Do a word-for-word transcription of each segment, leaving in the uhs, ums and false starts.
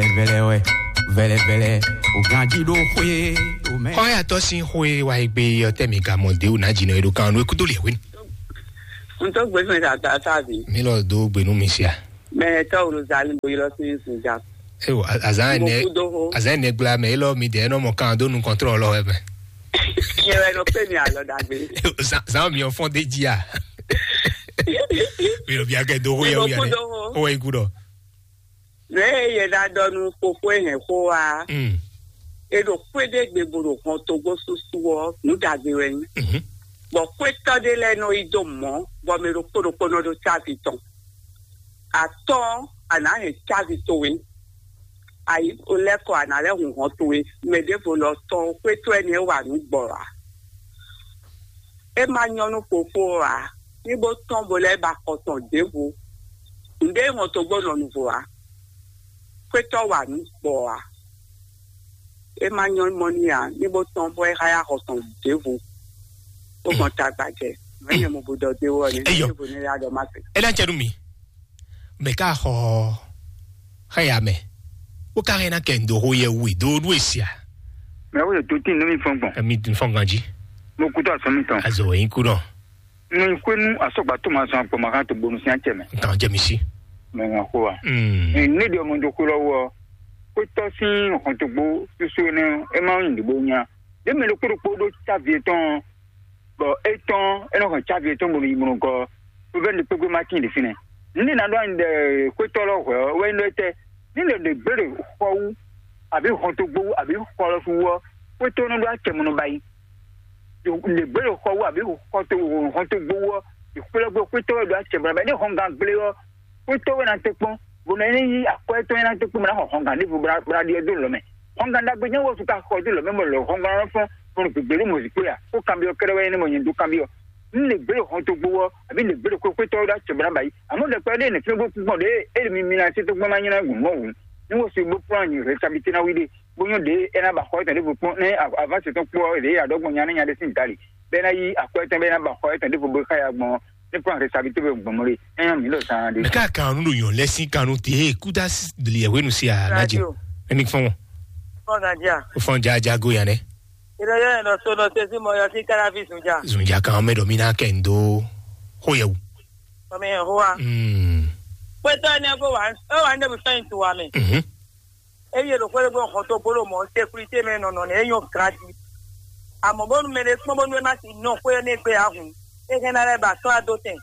Vɛlɛ wɛ, vɛlɛ vɛlɛ, o ganji ɖo xwé o mɛ. Xɔyatɔ sín xwé wa yi gbé yɔ tɛ mi ka mɔ de o na jìnnà eɖo kan nú ekútó lɛ wé. N tó gbé fún ìta ta ta bi. Mi lɔ do gbenu mi sia. Mɛ tɔ wolo zali bo yɔrɔ sí sùn ja. Ewo azan Mo ne kú dó hó. Azan ne gbla mɛ elɔ mi de nɔ mɔ kan do nu kɔntrɔ lɔ wɛ mɛ. Yɛ wɛ nɔ pé mi alɔ dagbe. Zan zan mi ɔfɔn de jia. Mi lɔ bi akɛ do hó yɛ Mo wia kú ne. Dó hó. O wɛ ikú dɔ. Nɛ yɛ da dɔ nu kpokpo hɛn xó wa. Mm. E ɖo xwé ɖé gbe bo ɖo hɔn togbo susu ɔ nu dagbe wɛ nyi. Mhm. Bɔ xwétɔ́ ɖé lɛ́ɛ nɔ yi dó mɔ̌, bɔ mɛ ɖokpó ɖokpó nɔ ɖó cávi tɔn. Atɔ́ɔ́n, a nǎ hɛn cávi towe, ayi lɛ́ kɔ a nǎ lɛ́ hun hɔn towe. Mɛ ɖěvo lɔ tɔn xwétɔ́ ɛnɛ wa nǔ gbɔ ǎ. É ma nyɔ́ nú fofó ɔ́ ǎ, ní bó tɔ́n bo lɛ́ ba xɔ tɔn ɖěvo. Nǔɖé hɔn togbó nɔ nuvo ǎ. Xwétɔ́ wa nǔ gbɔ ǎ. É ma nyɔ́ mɔ n'i ǎ, ní bó tɔ́n bɔ é xá yá xɔ tɔn ɖěvo. Bó gbɔn tagbajɛ, nǔ e nyɛ mo bo ɖɔ dó é wú ɔ́ nɛ́. Eyɔ. Ɖěvo nɛ́ yá ɖɔ má se. É ná cɛ nú mi. Mɛ ká xɔ xá ya mɛ. Bó ká hɛn ná kɛ ndo xó yɛ wú do nú èsì a. Mɛ wo yɛ tó tín nú mi fɔn gbɔn. Èmi fɔn ganjí. Mo kú tó àsán mi tán. Azɔ wẹ̀ yín kú náà. Nɔ yi xwenu asɔgba tó ma zɔn agbɔma kan to bonu sín acɛ mɛ. Nkan jɛ mi sí. Mɛ ŋa xo wa. Mm. Ne ɖe ɔmɔ do xo lɔ wɔ, xwetɔ sín hɔntogbo susu ne e ma yin ɖibo nya. Ɖe mɛ ɖokpó ɖokpó ɖó cavi etɔn, bɔ etɔn e nɔ hɛn cavi etɔn bonu yi bonu gɔ. Fúnfɛ́n ɖe kpégbé ma tín ɖe fínɛ́. Ne na ɖo anyi ɖe xwetɔ lɔ hwɛ ɔ, wɛ nyí ɖɔ etɛ. Ne ɖe ɖe gbére xɔ wú, àbí hɔntogbo wú, àbí xɔ lɔ su wú ɔ, xwetɔ nɔ ɖo acɛ mɔnɔ ba yi. Ɖe gbé ɖo xɔ wú àbí xɔ to hɔn to gbowó ɔ́, ìkplɔ́gbó xwétɔ́ wɛ ɖo acɛ bla bɛ ní hɔngán gblé ɔ́, xwétɔ́ wɛ ná tɛ́ kpɔ́n, bó ná ní yí akwɛ́ tɔn ná tɛ́ kpɔ́n bó ná xɔ hɔngán ɖěvo bó ná ɖiɛ dó lɔ̌ mɛ. Hɔngán ɖagbe nyɛ wɔ suka xɔ dó lɔ̌ mɛ bɔ lɔ hɔngán ɔ́ fɔ́n bó nɔ gběgbé ɖó mɔ̌zinkpo ya, xó kanbyɔ́ kɛ́ɖɛ́ wɛ nyí nɛ mɔ nyɛ dó kanbyɔ́. Nú lě gbé ɖo hɔn to gbowó ɔ́, àbí lě gbé ɖo xwétɔ́ wɛ ɖo acɛ bla ba yi. Àmọ́ ɖɛkpɛ ɖé nɛ̌ fínɛ́ bó kú gbɔn ɖě é ɖi mi mi ná sé tó gbɔn ná nyí ná gǔn mɔ̌ hǔn. Ní wɔ se bó plán nyi rɛ́sábítí ná wí ɖe. Bó nyɔ́ ɖě é ná ba xɔ étɔn ɖěvo kpɔ́n, nɛ́ avásɛ tɔn kpó ɔ́, ɖě ya ɖɔ gbɔn nya nɛ́ nya ɖé sín dali, bɛ́ ná yí akwɛ́ tɔn bɛ́ ná ba xɔ étɔn ɖěvo bó xá ya gbɔn, ní kplɔ́n rɛ́sábítí bó gbɔn mɔ ɖé. É nyɔ́ mǐ ɖo zan ɖé. Mɛ ká kan nu ɖo yɔn lɛ sín kan nu te kúta liɛ wenu si a na jɛ. Radio. Ɛni fɔn. Fɔn na ja. Fɔn ja ja go ya nɛ. Ina yɔ ɛnɔ so nɔ se si mɔ yɔ si kala fi zun ja. Zun ja kan mɛ dɔ mi na kɛ ndo. Ho yɛ wu. Mami yɛ ho wa. Mm. Kwetɔ ne ko wa. E wa ne bu sɛn tu wa mɛ. Mhm. Eye ɖo xwé ɖé gbɔn xɔtɔgbolo mɔ sécurité mɛ nɔnɔ nɛ e nyɔ ganji. Àmọ́ bónú mɛ ɖé kpɔ́n bónú é má si nɔ xwé ɔ́ nɛ́ gbé ǎ hǔn, é hɛn ná lɛ́ ba sɔ́ wá dó tɛn,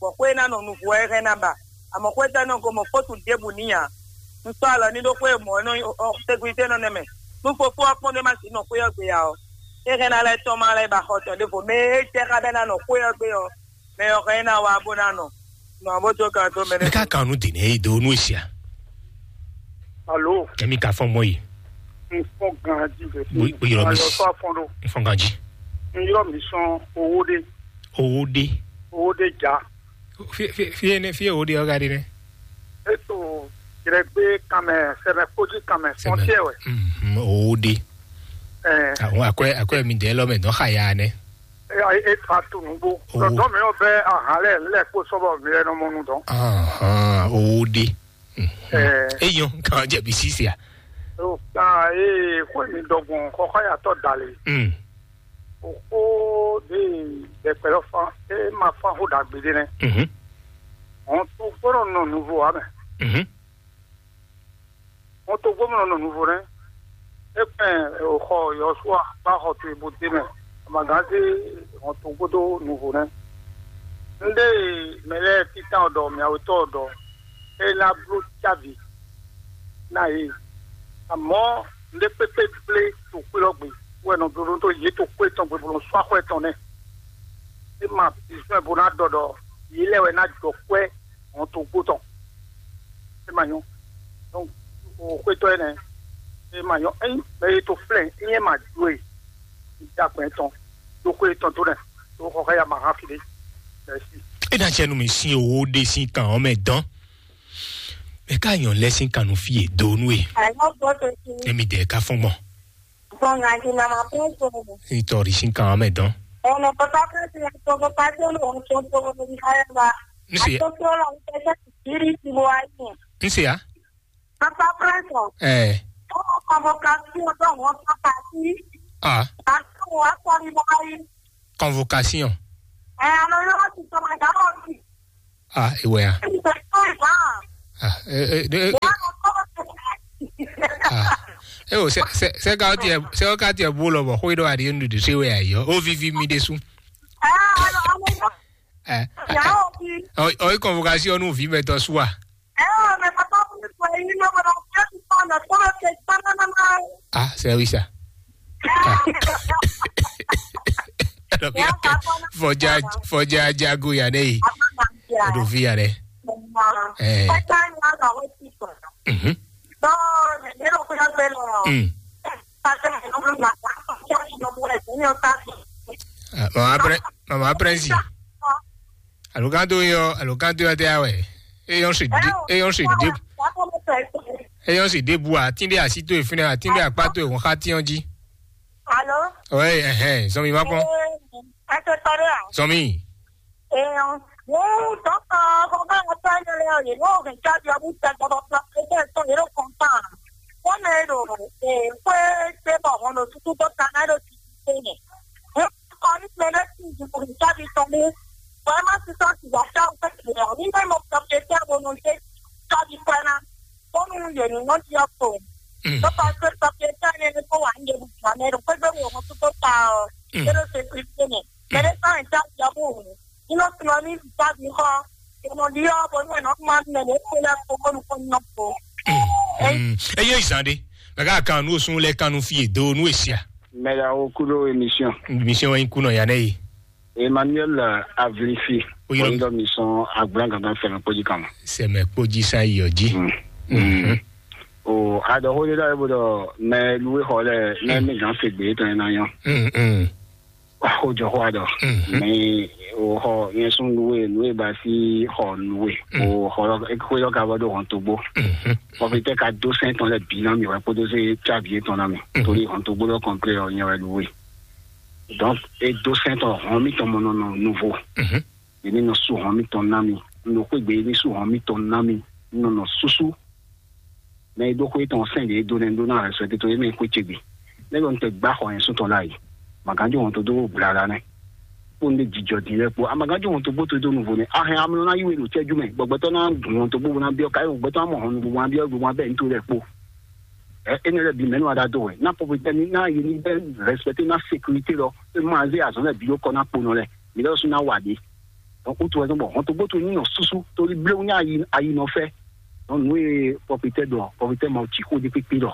bɔ xwé ná nɔ nuvo ɔ́ é hɛn ná ba. Àmọ́ xwé tɔ́ nɔ ko mɔ fótu ɖěbǔ n'i ǎ. Un sɔ́ alɔ ní ɖó xwé mɔ̌ nɔ sécurité nɔ nɛ́ mɛ. Nú fofó ɔ́ kpɔ́n ɖé má si nɔ xwé ɔ́ gbé ǎ ɔ́, é hɛn ná lɛ́ tɔ́n má lɛ́ ba xɔ tɔn ɖěvo. Mɛ e jɛ xá bɛ́ ná nɔ xwé ɔ́ gbé ɔ́, mɛ ɔ́ hɛn ná wá bó ná nɔ. Nɔ bó jó kan tó mɛ Mɛ ká kan nu dènè e do nu esia. Alo, Kɛmi ka fɔn mɔ yi. N fɔn ganji de. Bo- bo yɔrɔ mi Alo, s- fɔ afɔn do. N fɔn ganji. N yɔrɔ mi sɔn owó de. Owó de. Owó de ja. Fi fi fi ne fi owó de ɔga de ne. Eto jrɛgbe kanmɛ, sɛmɛ koji kanmɛ, Sɛmɛ. Fɔntiɛ wɛ. Mhm, owó de. Ɛ, Àwọn akɔɛ akɔɛ mi dɛ lɔ mɛ dɔn xa ya ne. E, e fa tu nugbo. Owó. Dɔdɔ mi yɔ bɛ ahan lɛ lɛ kpo sɔbɔ mi lɛ nɔ mɔ nu dɔn. Ahan, owó de. Mhm. Ɛ. Eyɔn kan jẹbi sisi a. O kan e xɔ mi dɔgbọn kɔkɔ ya tɔ dali. Mm. O ko de dɛkpɛ lɔ fan e ma fan ho dagbe de nɛ. Mhm. Ɔn to gbɔdɔ nɔ nuvo wa mɛ. Mhm. Ɔn to gbɔdɔ nɔ nuvo nɛ. E kpɛn o xɔ Yɔsua ba xɔ to ibo de mɛ. Amagan se ɔn to gbɔdɔ nuvo nɛ. Nde mɛ lɛ titan ɔdɔ miawetɔ ɔdɔ e na blo cavi na ye. Amɔ nde kpekpe gble to kpe lɔ gbe wɛ nɔ dodo to ye to kpe tɔn gbe bolo sɔ axɔ etɔn nɛ. E ma bizɔn bo na dɔ dɔ ye lɛ wɛ na jɔ kwɛ hɔn to gbó tɔn. E ma nyɔ. Donc o xwetɔ enɛ e ma nyɔ. Eyin mɛ ye to flɛ eyin e ma jo e da gbɛn tɔn do xwe tɔn do nɛ do xɔ xɛ ya ma ha fi de. Merci. E na cɛ nu mi sin owó de sin kan ɔmɛ dɔn. Mɛ ká nyɔ lɛ sin kan nu fi e do nu e. Emi dɛ ka fɔn gbɔn. Itɔ ri sin kan ɔmɛ dɔn. Nse ya. Nse ya. Papa Prince, ɛ, convocation dɔ wọn papa si. Ah, Ato wa sɔri bɔ ayi. Convocation. Ɛ, ano yɔ ti tɔmɔ da lɔ si. Ah, ewɛ ya. Ti tɛ tɔ ya. Ah, e e de e. Ya no kɔ. Ah, e o sɛ sɛ sɛ ka tiɛ sɛ ka tiɛ bó lɔ bɔ xwe dɔ adi nu de se wɛ ayi. O vivi mi de su. Ɛ, ano ano yɔ. Ɛ, ya o bi. O o convocation nu vi mɛ tɔ su a. Ɛ, o mɛ papa mi fɔ yi no bɔ na ti tɔ na tɔ na te tɔ na na na. Ah, c'est oui ça. Ah. Donc, ya, fɔja fɔjajago ya ne yi. Eɖo vi ya ɖe. Eh. Mhm. Mm. Ah, mama pre mama prensi. Alo kan to yɔ alo kan to yɔ tɛ awɛ. Eyɔn si di eyɔn si di eyɔn si di bu atin ɖe asi to efinɛ atin ɖe akpa to ehun xa tiɔn ji. Alo. Ɔyɛ ɛhɛn zɔn mi ma kpɔn. Ɛ, ɛ tɛ tɔ ɖe a? Zɔn mi. Eyɔn. Wọ́n dɔkta kɔkɔtɔ yẹn lɛ yìí n'o hɛn jáde ɔbú tɛ gbɔdɔ fila pépé tɔn yẹn ló kɔn tán. Wọ́n mɛ ɖo ee kpé tɛ bɔ hɔn ɖo tutu dɔkta náà ɖo títí tɛ yẹn. Wọ́n kọ́ ní mɛ lɛ tún ju kò ní jáde tɔn mú. Wọ́n má ti tọ́ ti wà sáwọn fẹ́ tìlẹ̀ ọ̀ ní mẹ́mọ́ pọ̀pẹ́tẹ́ àbọ̀nù ṣe jáde pẹ́ ná. Bónú yě ní wọ́n ti ɔkọ̀. Tó bá ṣe pọ̀pẹ́tẹ́ ní ẹni tó wà ń yẹ gbogbo àmì ẹ̀rọ pé gbé wò wọ́n tó tó ta ọ̀. Ṣé ló ṣe fi ṣe nì? Ṣé ló sọ̀rọ̀ jáde ɔbú òun? Ino sɔlɔ ní vǐ xɔ. Ìmọ̀ ɖi ɔ́ bɔ nú ẹ̀ nɔ kúmá nú ẹ̀ lě kpé lɛ́ kpó bónú kpó nɔ kpó. Eye zan ɖe mɛ ká kan nú osún lɛ kan nú fi do nú esia. Mɛɖa wo kúɖó émission. Mission wɛ nyí kúnɔ ya nɛ yi. Emmanuel Avlifi. Oyinɔ. Oyinɔ mi sɔn agblan gangan fɛnɛ kpɔji kan. Sɛmɛ kpɔji sa yi ɔji. O adɔxo ɖe ɖɔ ebo ɖɔ mɛ luwe xɔ lɛ nɛ mi gan se gbe tɔn na yɔ. Xo jɔ xɔ adɔ. Mɛ o xɔ yɛn sun luwe luwe ba si xɔ luwe. O xɔ xo yɔ ka bɔ do hɔn togbo. Pɔfitɛ ka do sɛn tɔn lɛ bi na mi wɛ kpodo se cavi tɔn na mi. Tori hɔn togbo lɔ kɔnplɛ ɔ nyɛ wɛ luwe. Donc e do sɛn tɔn hɔn mi tɔn mɔ nɔ nɔ nouveau. Ye ní nɔ sú hɔn mitɔn ná mi. Un ɖo xwé gbe ye ní sú hɔn mitɔn ná mi. Un nɔ nɔ súsú. Mɛ e ɖó xwé tɔn sɛn ɖě e dó nɛ́ ɖó ná hɛn sɔ tito ye mɛ xwé ce gbe. Nɛ́ ɖɔ un tɛ gbá xɔ nyɛ sútɔn láàyè. Màgánjó hɔn tó dó gbla la nɛ́. Kpó un ɖe jijɔ din lɛ́ɛ kpó. Amagánjó hɔn tó gbó tó dó nuvo nɛ́. A hɛn amlɔ ná yí we ɖo cɛ́jú mɛ. Gbɔgbɛtɔ́ ná gǔn hɔn tó gbó ná byɔ́ káyé gbɔgbɛtɔ́ ná mɔ hɔn nuvo ná byɔ́ gbogbo ná bɛ́ ní tó lɛ́ɛ kpó. Ɛ énɛ́ lɛ́ɛ bǐ mɛ̌ nɔ wa ɖa dó wɛ? Ná pɔpɔtɛ́ ní ná ye ní bɛ́ respecté ná sécurité lɔ. É má zé azɔ̌ lɛ́ɛ bǐ ɖó kɔ ná kponɔ lɛ́ɛ. Mi lɛ́ sú ná wa ɖě. Donc, wútu wɛ zɔ́n bɔ hɔntogbó towe ní nɔ súsú, tóli bléwú ní ayi ayi nɔ fɛ. Donc, nǔ e pɔfitɛ ɖɔ, pɔfitɛ ma ci xó ɖé kpékpé ɖɔ,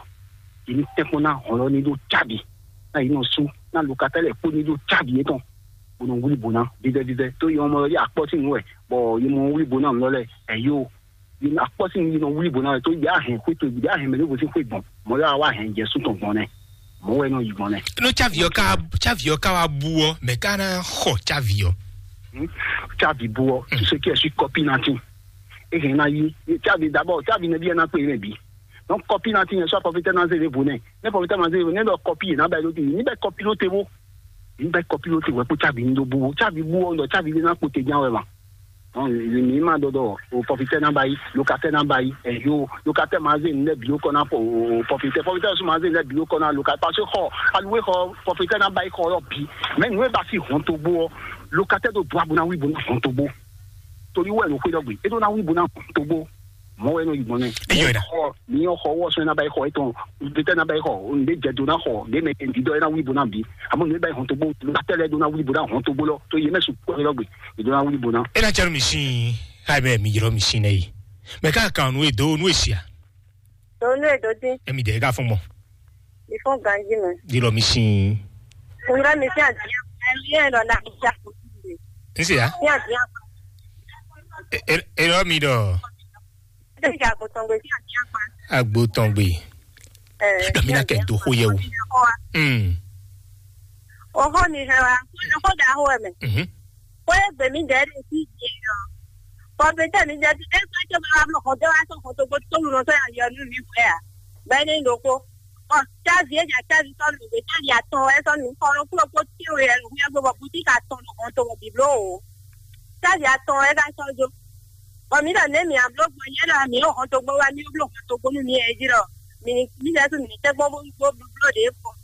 yi ní tɛ́nkpɔ́n ná hɔn lɔ ní ɖó cábi, ná yi nɔ sú, ná lukatá lɛ́ɛ kpó ní ɖó cábi yětɔn, bó nɔ wlí bó ná vívɛ́vívɛ́. Tó yi ɔmɔ yɔ akpɔ́ sín nǔ wɛ, bɔ yi mɔ wlí bó ná nǔ lɔ lɛ́ɛ, ɛyó, yi nɔ akpɔ́ sín yi nɔ wlí bó ná wɛ, tó yi á hɛn xwé towe, yi á hɛn mɛ ɖěvo sín xwé gbɔn, mɔ yɛ wá hɛn jɛ sú tɔn gbɔn nɛ, mɔ wɛ nɔ yi gbɔn nɛ. Nú cávi ɔ́ ká wá cávi ɔ́ ká wá bú ɔ́, mɛ ká ná xɔ cávi ɔ́. Cávi bú ɔ́, tu se kí ɛ sí kɔpí ná tín. E hɛn ná yí. Cávi dabɔ, cávi nɛbí ɛ ná kpé nɛ bí. Donc kɔpí ná tín yẹn sɔ pɔfitɛ ná zé vo nɛ. Ne pɔfitɛ ma zé vo nɛ lɔ kɔpí yẹn ná bɛ ló ti. Ní bɛ kɔpí ló te wo. Ní bɛ kɔpí ló te wɛ kó cávi ní dó bú. Cávi bú ɔ́, dɔ cávi lé ná kpó te ján wɛ ma. Ɔn, mi ma dɔ dɔ o pɔfitɛ na ba yi, lokatɛ na ba yi, ɛyo, lokatɛ ma ze nɛ bi o kɔ na pɔ o pɔfitɛ, pɔfitɛ su ma ze nɛ bi o kɔ na lokatɛ, parce que xɔ aluwe xɔ pɔfitɛ na ba yi xɔ yɔ bi, mɛ nu e ba si hɔn togbo ɔ, lokatɛ do do abo na wi bo na hɔn togbo, tori wɛ no xwe dɔ gbe, e do na wi bo na hɔn togbo, mɔ wɛ no yi gbɔn nɛ. Eyɔ da. Xɔ mi yɔ xɔ wɔ sɔn na ba yi xɔ etɔn, pɔfitɛ na ba yi xɔ, n de jɛ do na xɔ, de mɛ n di dɔ e na wi bo na bi, amɔ nu e ba yi hɔn togbo, lokatɛ lɛ do na wi bo na hɔn togbo lɔ, to ye mɛ su kɔ yɔ gbe. Ìdúrà wúlò bó ná. E na cɛ nu mi sin, ayi bɛ mi jlɔ mi sin nɛ yi. Mɛ ká kan nu edo nu esia. Donu edo dín. Emi dɛ ka fún mɔ. Mi fún ganji mɛ. Jlɔ mi sin. Kunjɔ mi fi adi. Ɛmi yɛ lɔ na mi ja. N se ya. Fi adi. E e e lɔ mi dɔ. Fi adi agbotɔngbe fi adi akpa. Agbotɔngbe. Ɛɛ, dɔ mi na kɛ do xo yɛ o. Mm. Oxo mi hɛn wa, xo da xo ɛmɛ. Mhm. Xo e gbe mi dɛ ɖe fi dze ɔ. Kɔmpitɛ mi dɛ fi e gbe tso ma wa blɔ xɔ dɔ wa sɔ xɔ to gbɔ to lu nɔ sɔ ya yɔ nu mi fɛ ya. Bɛ ni ɖo ko. Ɔ, cavi e ja cavi sɔ nu gbe cavi atɔn wɛ sɔ nu kɔ nɔ klo ko ti o yɛ nu yɛ gbe bɔ butiki atɔn nɔ xɔ to bɔ biblo o. Cavi atɔn wɛ ka sɔ jo. Bɔ mǐ ɖɔ nɛ̌ mǐ a bló gbɔn nyɛ ɖɔ mǐ ɖo hɔntogbó wá mǐ bló hɔntogbó nú mǐ ɛ jí ɖɔ mǐ mǐ lɛ́ɛ sú mǐ ní tɛ́ gbɔn bó bó bló ɖě kpɔ́n.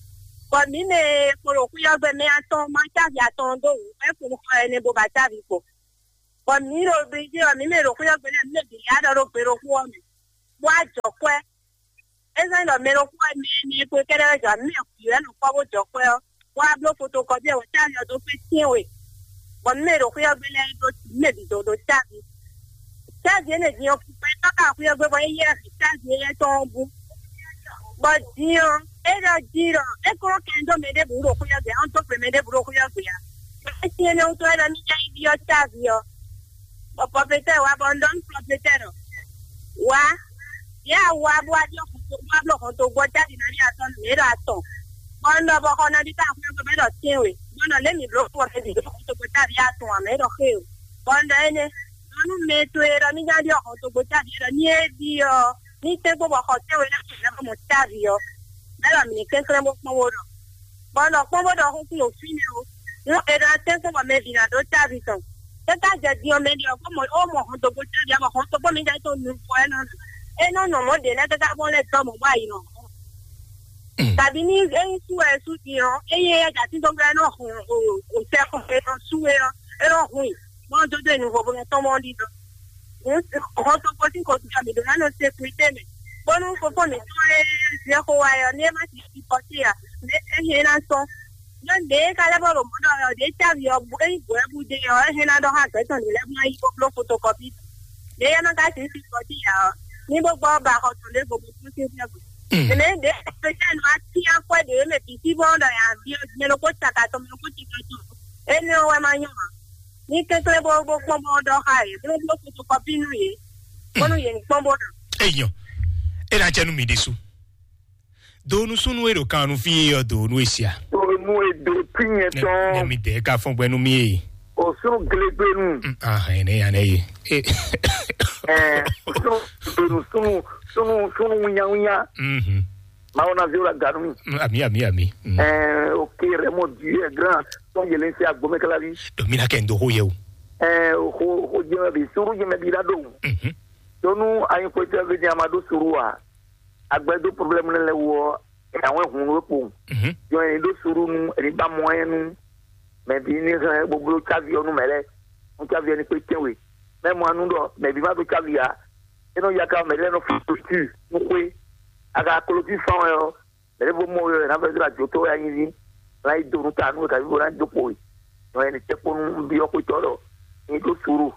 Bɔ mǐ mɛ kpo ɖo xwíyɔ́gbɛ mɛ atɔn ma cávi atɔn dó wǔ é kpo xɔ ɛnɛ bó ba cávi kpo. Bɔ mǐ ɖo Brizíl ɔ́, mǐ mɛ ɖo xwíyɔ́gbɛ lɛ́ɛ mǐ mɛ bǐ yá ɖɔ ɖó gbe ɖokpó ɔ́ mɛ, bó wá jɔ kwɛ́. É zɔ́n nyí ɖɔ mɛ ɖokpó wɛ mɛ énɛ́ kpó kɛ́ɖɛ́ wɛ jɔ mǐ mɛ xwǐ wɛ nɔ kpɔ́ bó jɔ kwɛ́ ɔ́, bó wá bló fotokɔ́pi ɔ́, wǒ cávi ɔ́ dó kpé tɛ́nwe. Bɔ mǐ mɛ ɖo xwé ɔ́ gbe lɛ́ɛ ɖó mǐ mɛ bǐ dó ɖó cávi. Cávi énɛ́ din ɔ́, kpukpɛ tɔ́ ka xwé ɔ́ gbe bɔ é yɛ hɛn cávi éyɛ́ tɔn ɔ́ bú. Bɔ din ɔ́, é ɖɔ din ɖɔ é kó kɛn dó mɛ ɖěbǔ ɖo xwé ɔ́ gbe, ɔ́ dó gbe mɛ ɖěbǔ ɖo xwé ɔ́ gbe ǎ. É sin énɛ́ wútu wɛ ɖɔ ní yá yi byɔ́ cávi ɔ́. Bɔ pɔpetɛ́ wá bɔ un ɖɔ nú pɔpetɛ́ ɖɔ: Wǎ, yě a wá bó wá ɖɔ xɔntogbó wá bló xɔntogbó ɔ́ jáde ná ɖi atɔn nú mǐ ɖɔ atɔn. Bɔ un ɖɔ bɔ xɔ nɔ ɖi tá xwé bɔ mɛ ɖɔ tɛ́nwe, bɔ un ɖɔ lě mǐ bló fɔ mɛ bǐ ɖo xɔntogbó tá ɖi atɔn ǎ mɛ ɖɔ xé o. Bɔ un ɖɔ énɛ́, nɔ nú mɛ to e ɖɔ ní ná ɖi xɔntogbó tá ɖi é ɖɔ ní é ɖi ɔ́, ní tɛ́nkpɔ́n bɔ xɔ tɛ́nwe ná mɔ tá ɖi ɔ́, mɛ ɖɔ mǐ ní kɛnklɛ́n bó kpɔ́n bó ɖɔ. Bɔ un ɖɔ kpɔ́n bó ɖɔ xó sín ɖo fínɛ́ o. Nú è ɖɔ atɛ́nkpɔ́n bɔ mɛ bǐ ná ɖó távi tɔn, é ka jɛ din ɔ́ mɛ ɖi ɔ́, bó mɔ ó mɔ hɔntogbó távi ɔ́, bɔ hɔntogbó mi jɛ tó nu vɔ é nɔ nu. É nɔ nɔ mɔ̌ ɖě lɛ́ɛ káká gbɔn lɛ́ɛ dɔ́ mɔ̌ bɔ ayi nɔ hɔn. Kabi ní é nyí sú wɛ é sú din ɔ́, é nyí éyɛ́ jɛ atíndɔ́gbɛ́ é nɔ hun òsɛ́xɔ é nɔ sú é ɔ́, é nɔ hun i, bɔ un dó dó e nu vovo mɛ tɔn mɔ ɔ́ ɖi dɔn. Hɔntogbó sín xɔsútɔ mǐ ɖó ná nɔ sékurité mɛ, bónú fofó mǐtɔn e zɛ xó wa ɛ ɔ́, ní é má ti sixɔ sí ǎ, ní é hɛn ná sɔ́. Nɔ ɖě é ka lɛ́ bɔ ɖo mɔ̌ ɖɔ ɔ́, ɖě cávi ɔ́, é nyí bǔ wɛ bú dé ɔ́, é hɛn ná ɖɔ xá gbɛ̌ tɔn ɖě lɛ́ɛ bó ná yi bó bló fotokɔ́pi. Ɖě é má ka sixɔ sí ǎ ɔ́, ní bó gbɔ ba xɔ tɔn ɖěvo bó kún sín fíɛ́ gbe. Mɛ ɖě é nɔ atín akwɛ́ ɖě mɛ bǐ sí bó ɖɔ yǎ ví ɔ́, mɛ ɖokpó caka tɔn, mɛ ɖokpó cika tɔn. Énɛ́ ɔ́ wɛ má nyɔ́ ǎ. Ní kɛnklɛ́n bó bó kpɔ́n bó ɖɔ xá yě, bó bló fotokɔ́pi nú yě, bónú yě ní kpɔ́n bó ɖɔ. Eyɔn, é ná jɛ nú mi ɖésú. Do nú súnnu e ɖo kan nú fí e ɔ́ do nú e sia. Tonu edo tinyɛ Nɛ tɔn. Mi dɛ ka fɔn gbɛ nú mi e. O sunu gelegbenu. Mm, ah, ene ya ne ye. Eh. Eh, sunu sunu sunu sunu winya winya. Mhm. Mawu na zero la ganu. Mm, ami ami ami. Mm. Eh, ok, Raymond Dieu est grand. Ton yelen se agbome kala vi. Do mi na kɛ ndo ho ye o. Eh, ho ho jeme bi suru jeme bi la do. Mhm. Tonu ayin ko te ve di amado suru wa. Agbɛdo problème lɛ lɛ wɔ. E awon hun we ko. Mhm. Yo en do suru nu, e ba mo en nu. Mɛ bǐ ní hɛn bó bló cávi ɔ́ nú mɛ lɛ́ɛ, nú cávi ɔ́ ní kpé tɛ́nwe. Mɛ mɔ anu ɖɔ mɛ bǐ má ɖó cávi ǎ, é nɔ ya ka mɛ lɛ́ɛ nɔ fí klotú nú xwé. A ka klotú fán wɛ ɔ́, mɛ ɖěvo mɔ we wɛ ná vɛ́ dó ajotɔ́ wɛ anyí ví, ná yi do nú ta nú we kaví bó ná dó kpo we. Nɔ ɛni tɛ́ kpó nú byɔ́ xwétɔ́ ɖɔ ní ɖó suru,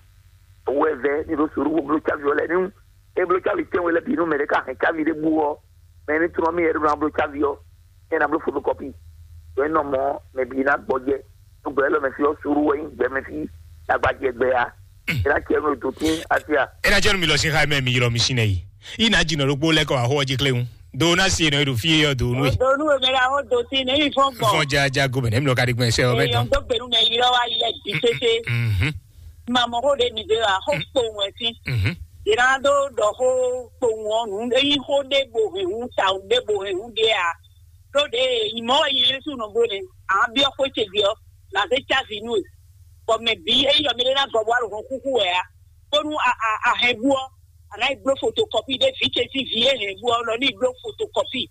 owó ɛ vɛ́ ní ɖó suru bó bló cávi ɔ́ lɛ́ɛ ní é bló cávi tɛ́nwe lɛ́ɛ bǐ nú mɛ ɖé ka hɛn cávi ɖé bú ɔ́, mɛ ní trɔ́n mì yɛ ɖó ná bló cávi ɔ́, é ná bló fotokɔ́pi. Ɖó é nɔ mɔ mɛ bǐ ná gbɔjɛ, nú gbɛ élɔ́ mɛ fí ɔ́ suru wɛ nyí gbɛ mɛ fí agbajɛ gbɛ ya. É ná cɛ nú dǒtín asia. É ná jẹ́ nu mi lɔ sín xá mɛ mi ylɔ mi sín nɛ yi. Yi ná jìnnà ɖokpó lɛ́ kɔ wá xó ɔ́ jí kléwún. Do ná si nɔ e ɖo fí e ɔ́ do nú e. Donu e mɛ la ho do si ne yi fɔn gbɔ. Fɔn jaja gomɛ nɛ mi lɔ ka ɖi gbɛn sɛ ɔ bɛ Èèyàn dán. Tó gbèrú mɛ yi lọ́wọ́ ayé ẹ̀ di tete. Mhm. Màmá kó de nìgbé wa kó kpòun ẹ̀ sí. Mhm. Ìran dó dɔ kó kpòun ɔ̀nù eyín kó dé bo hɛn hún ta dé bo hɛn hún dé a. Tó de ìmọ̀ ẹ̀yìn Yéṣu nɔ bó ne. Àwọn bí ọkọ̀ ṣe bí ọ. Là ń ṣe ṣáàfì inú ẹ̀. Bọ̀ mẹ̀ bí eyín yọ̀ mi lé ná gọ̀ bọ́ àlùkò kúkú ẹ̀ a. Bónú a a a hɛn bú ọ. Àná ìgbó fotokɔpi ɖé vǐ ce sín vǐ e hɛn bú ɔ́ nɔ ní ìgbó fotokɔpi.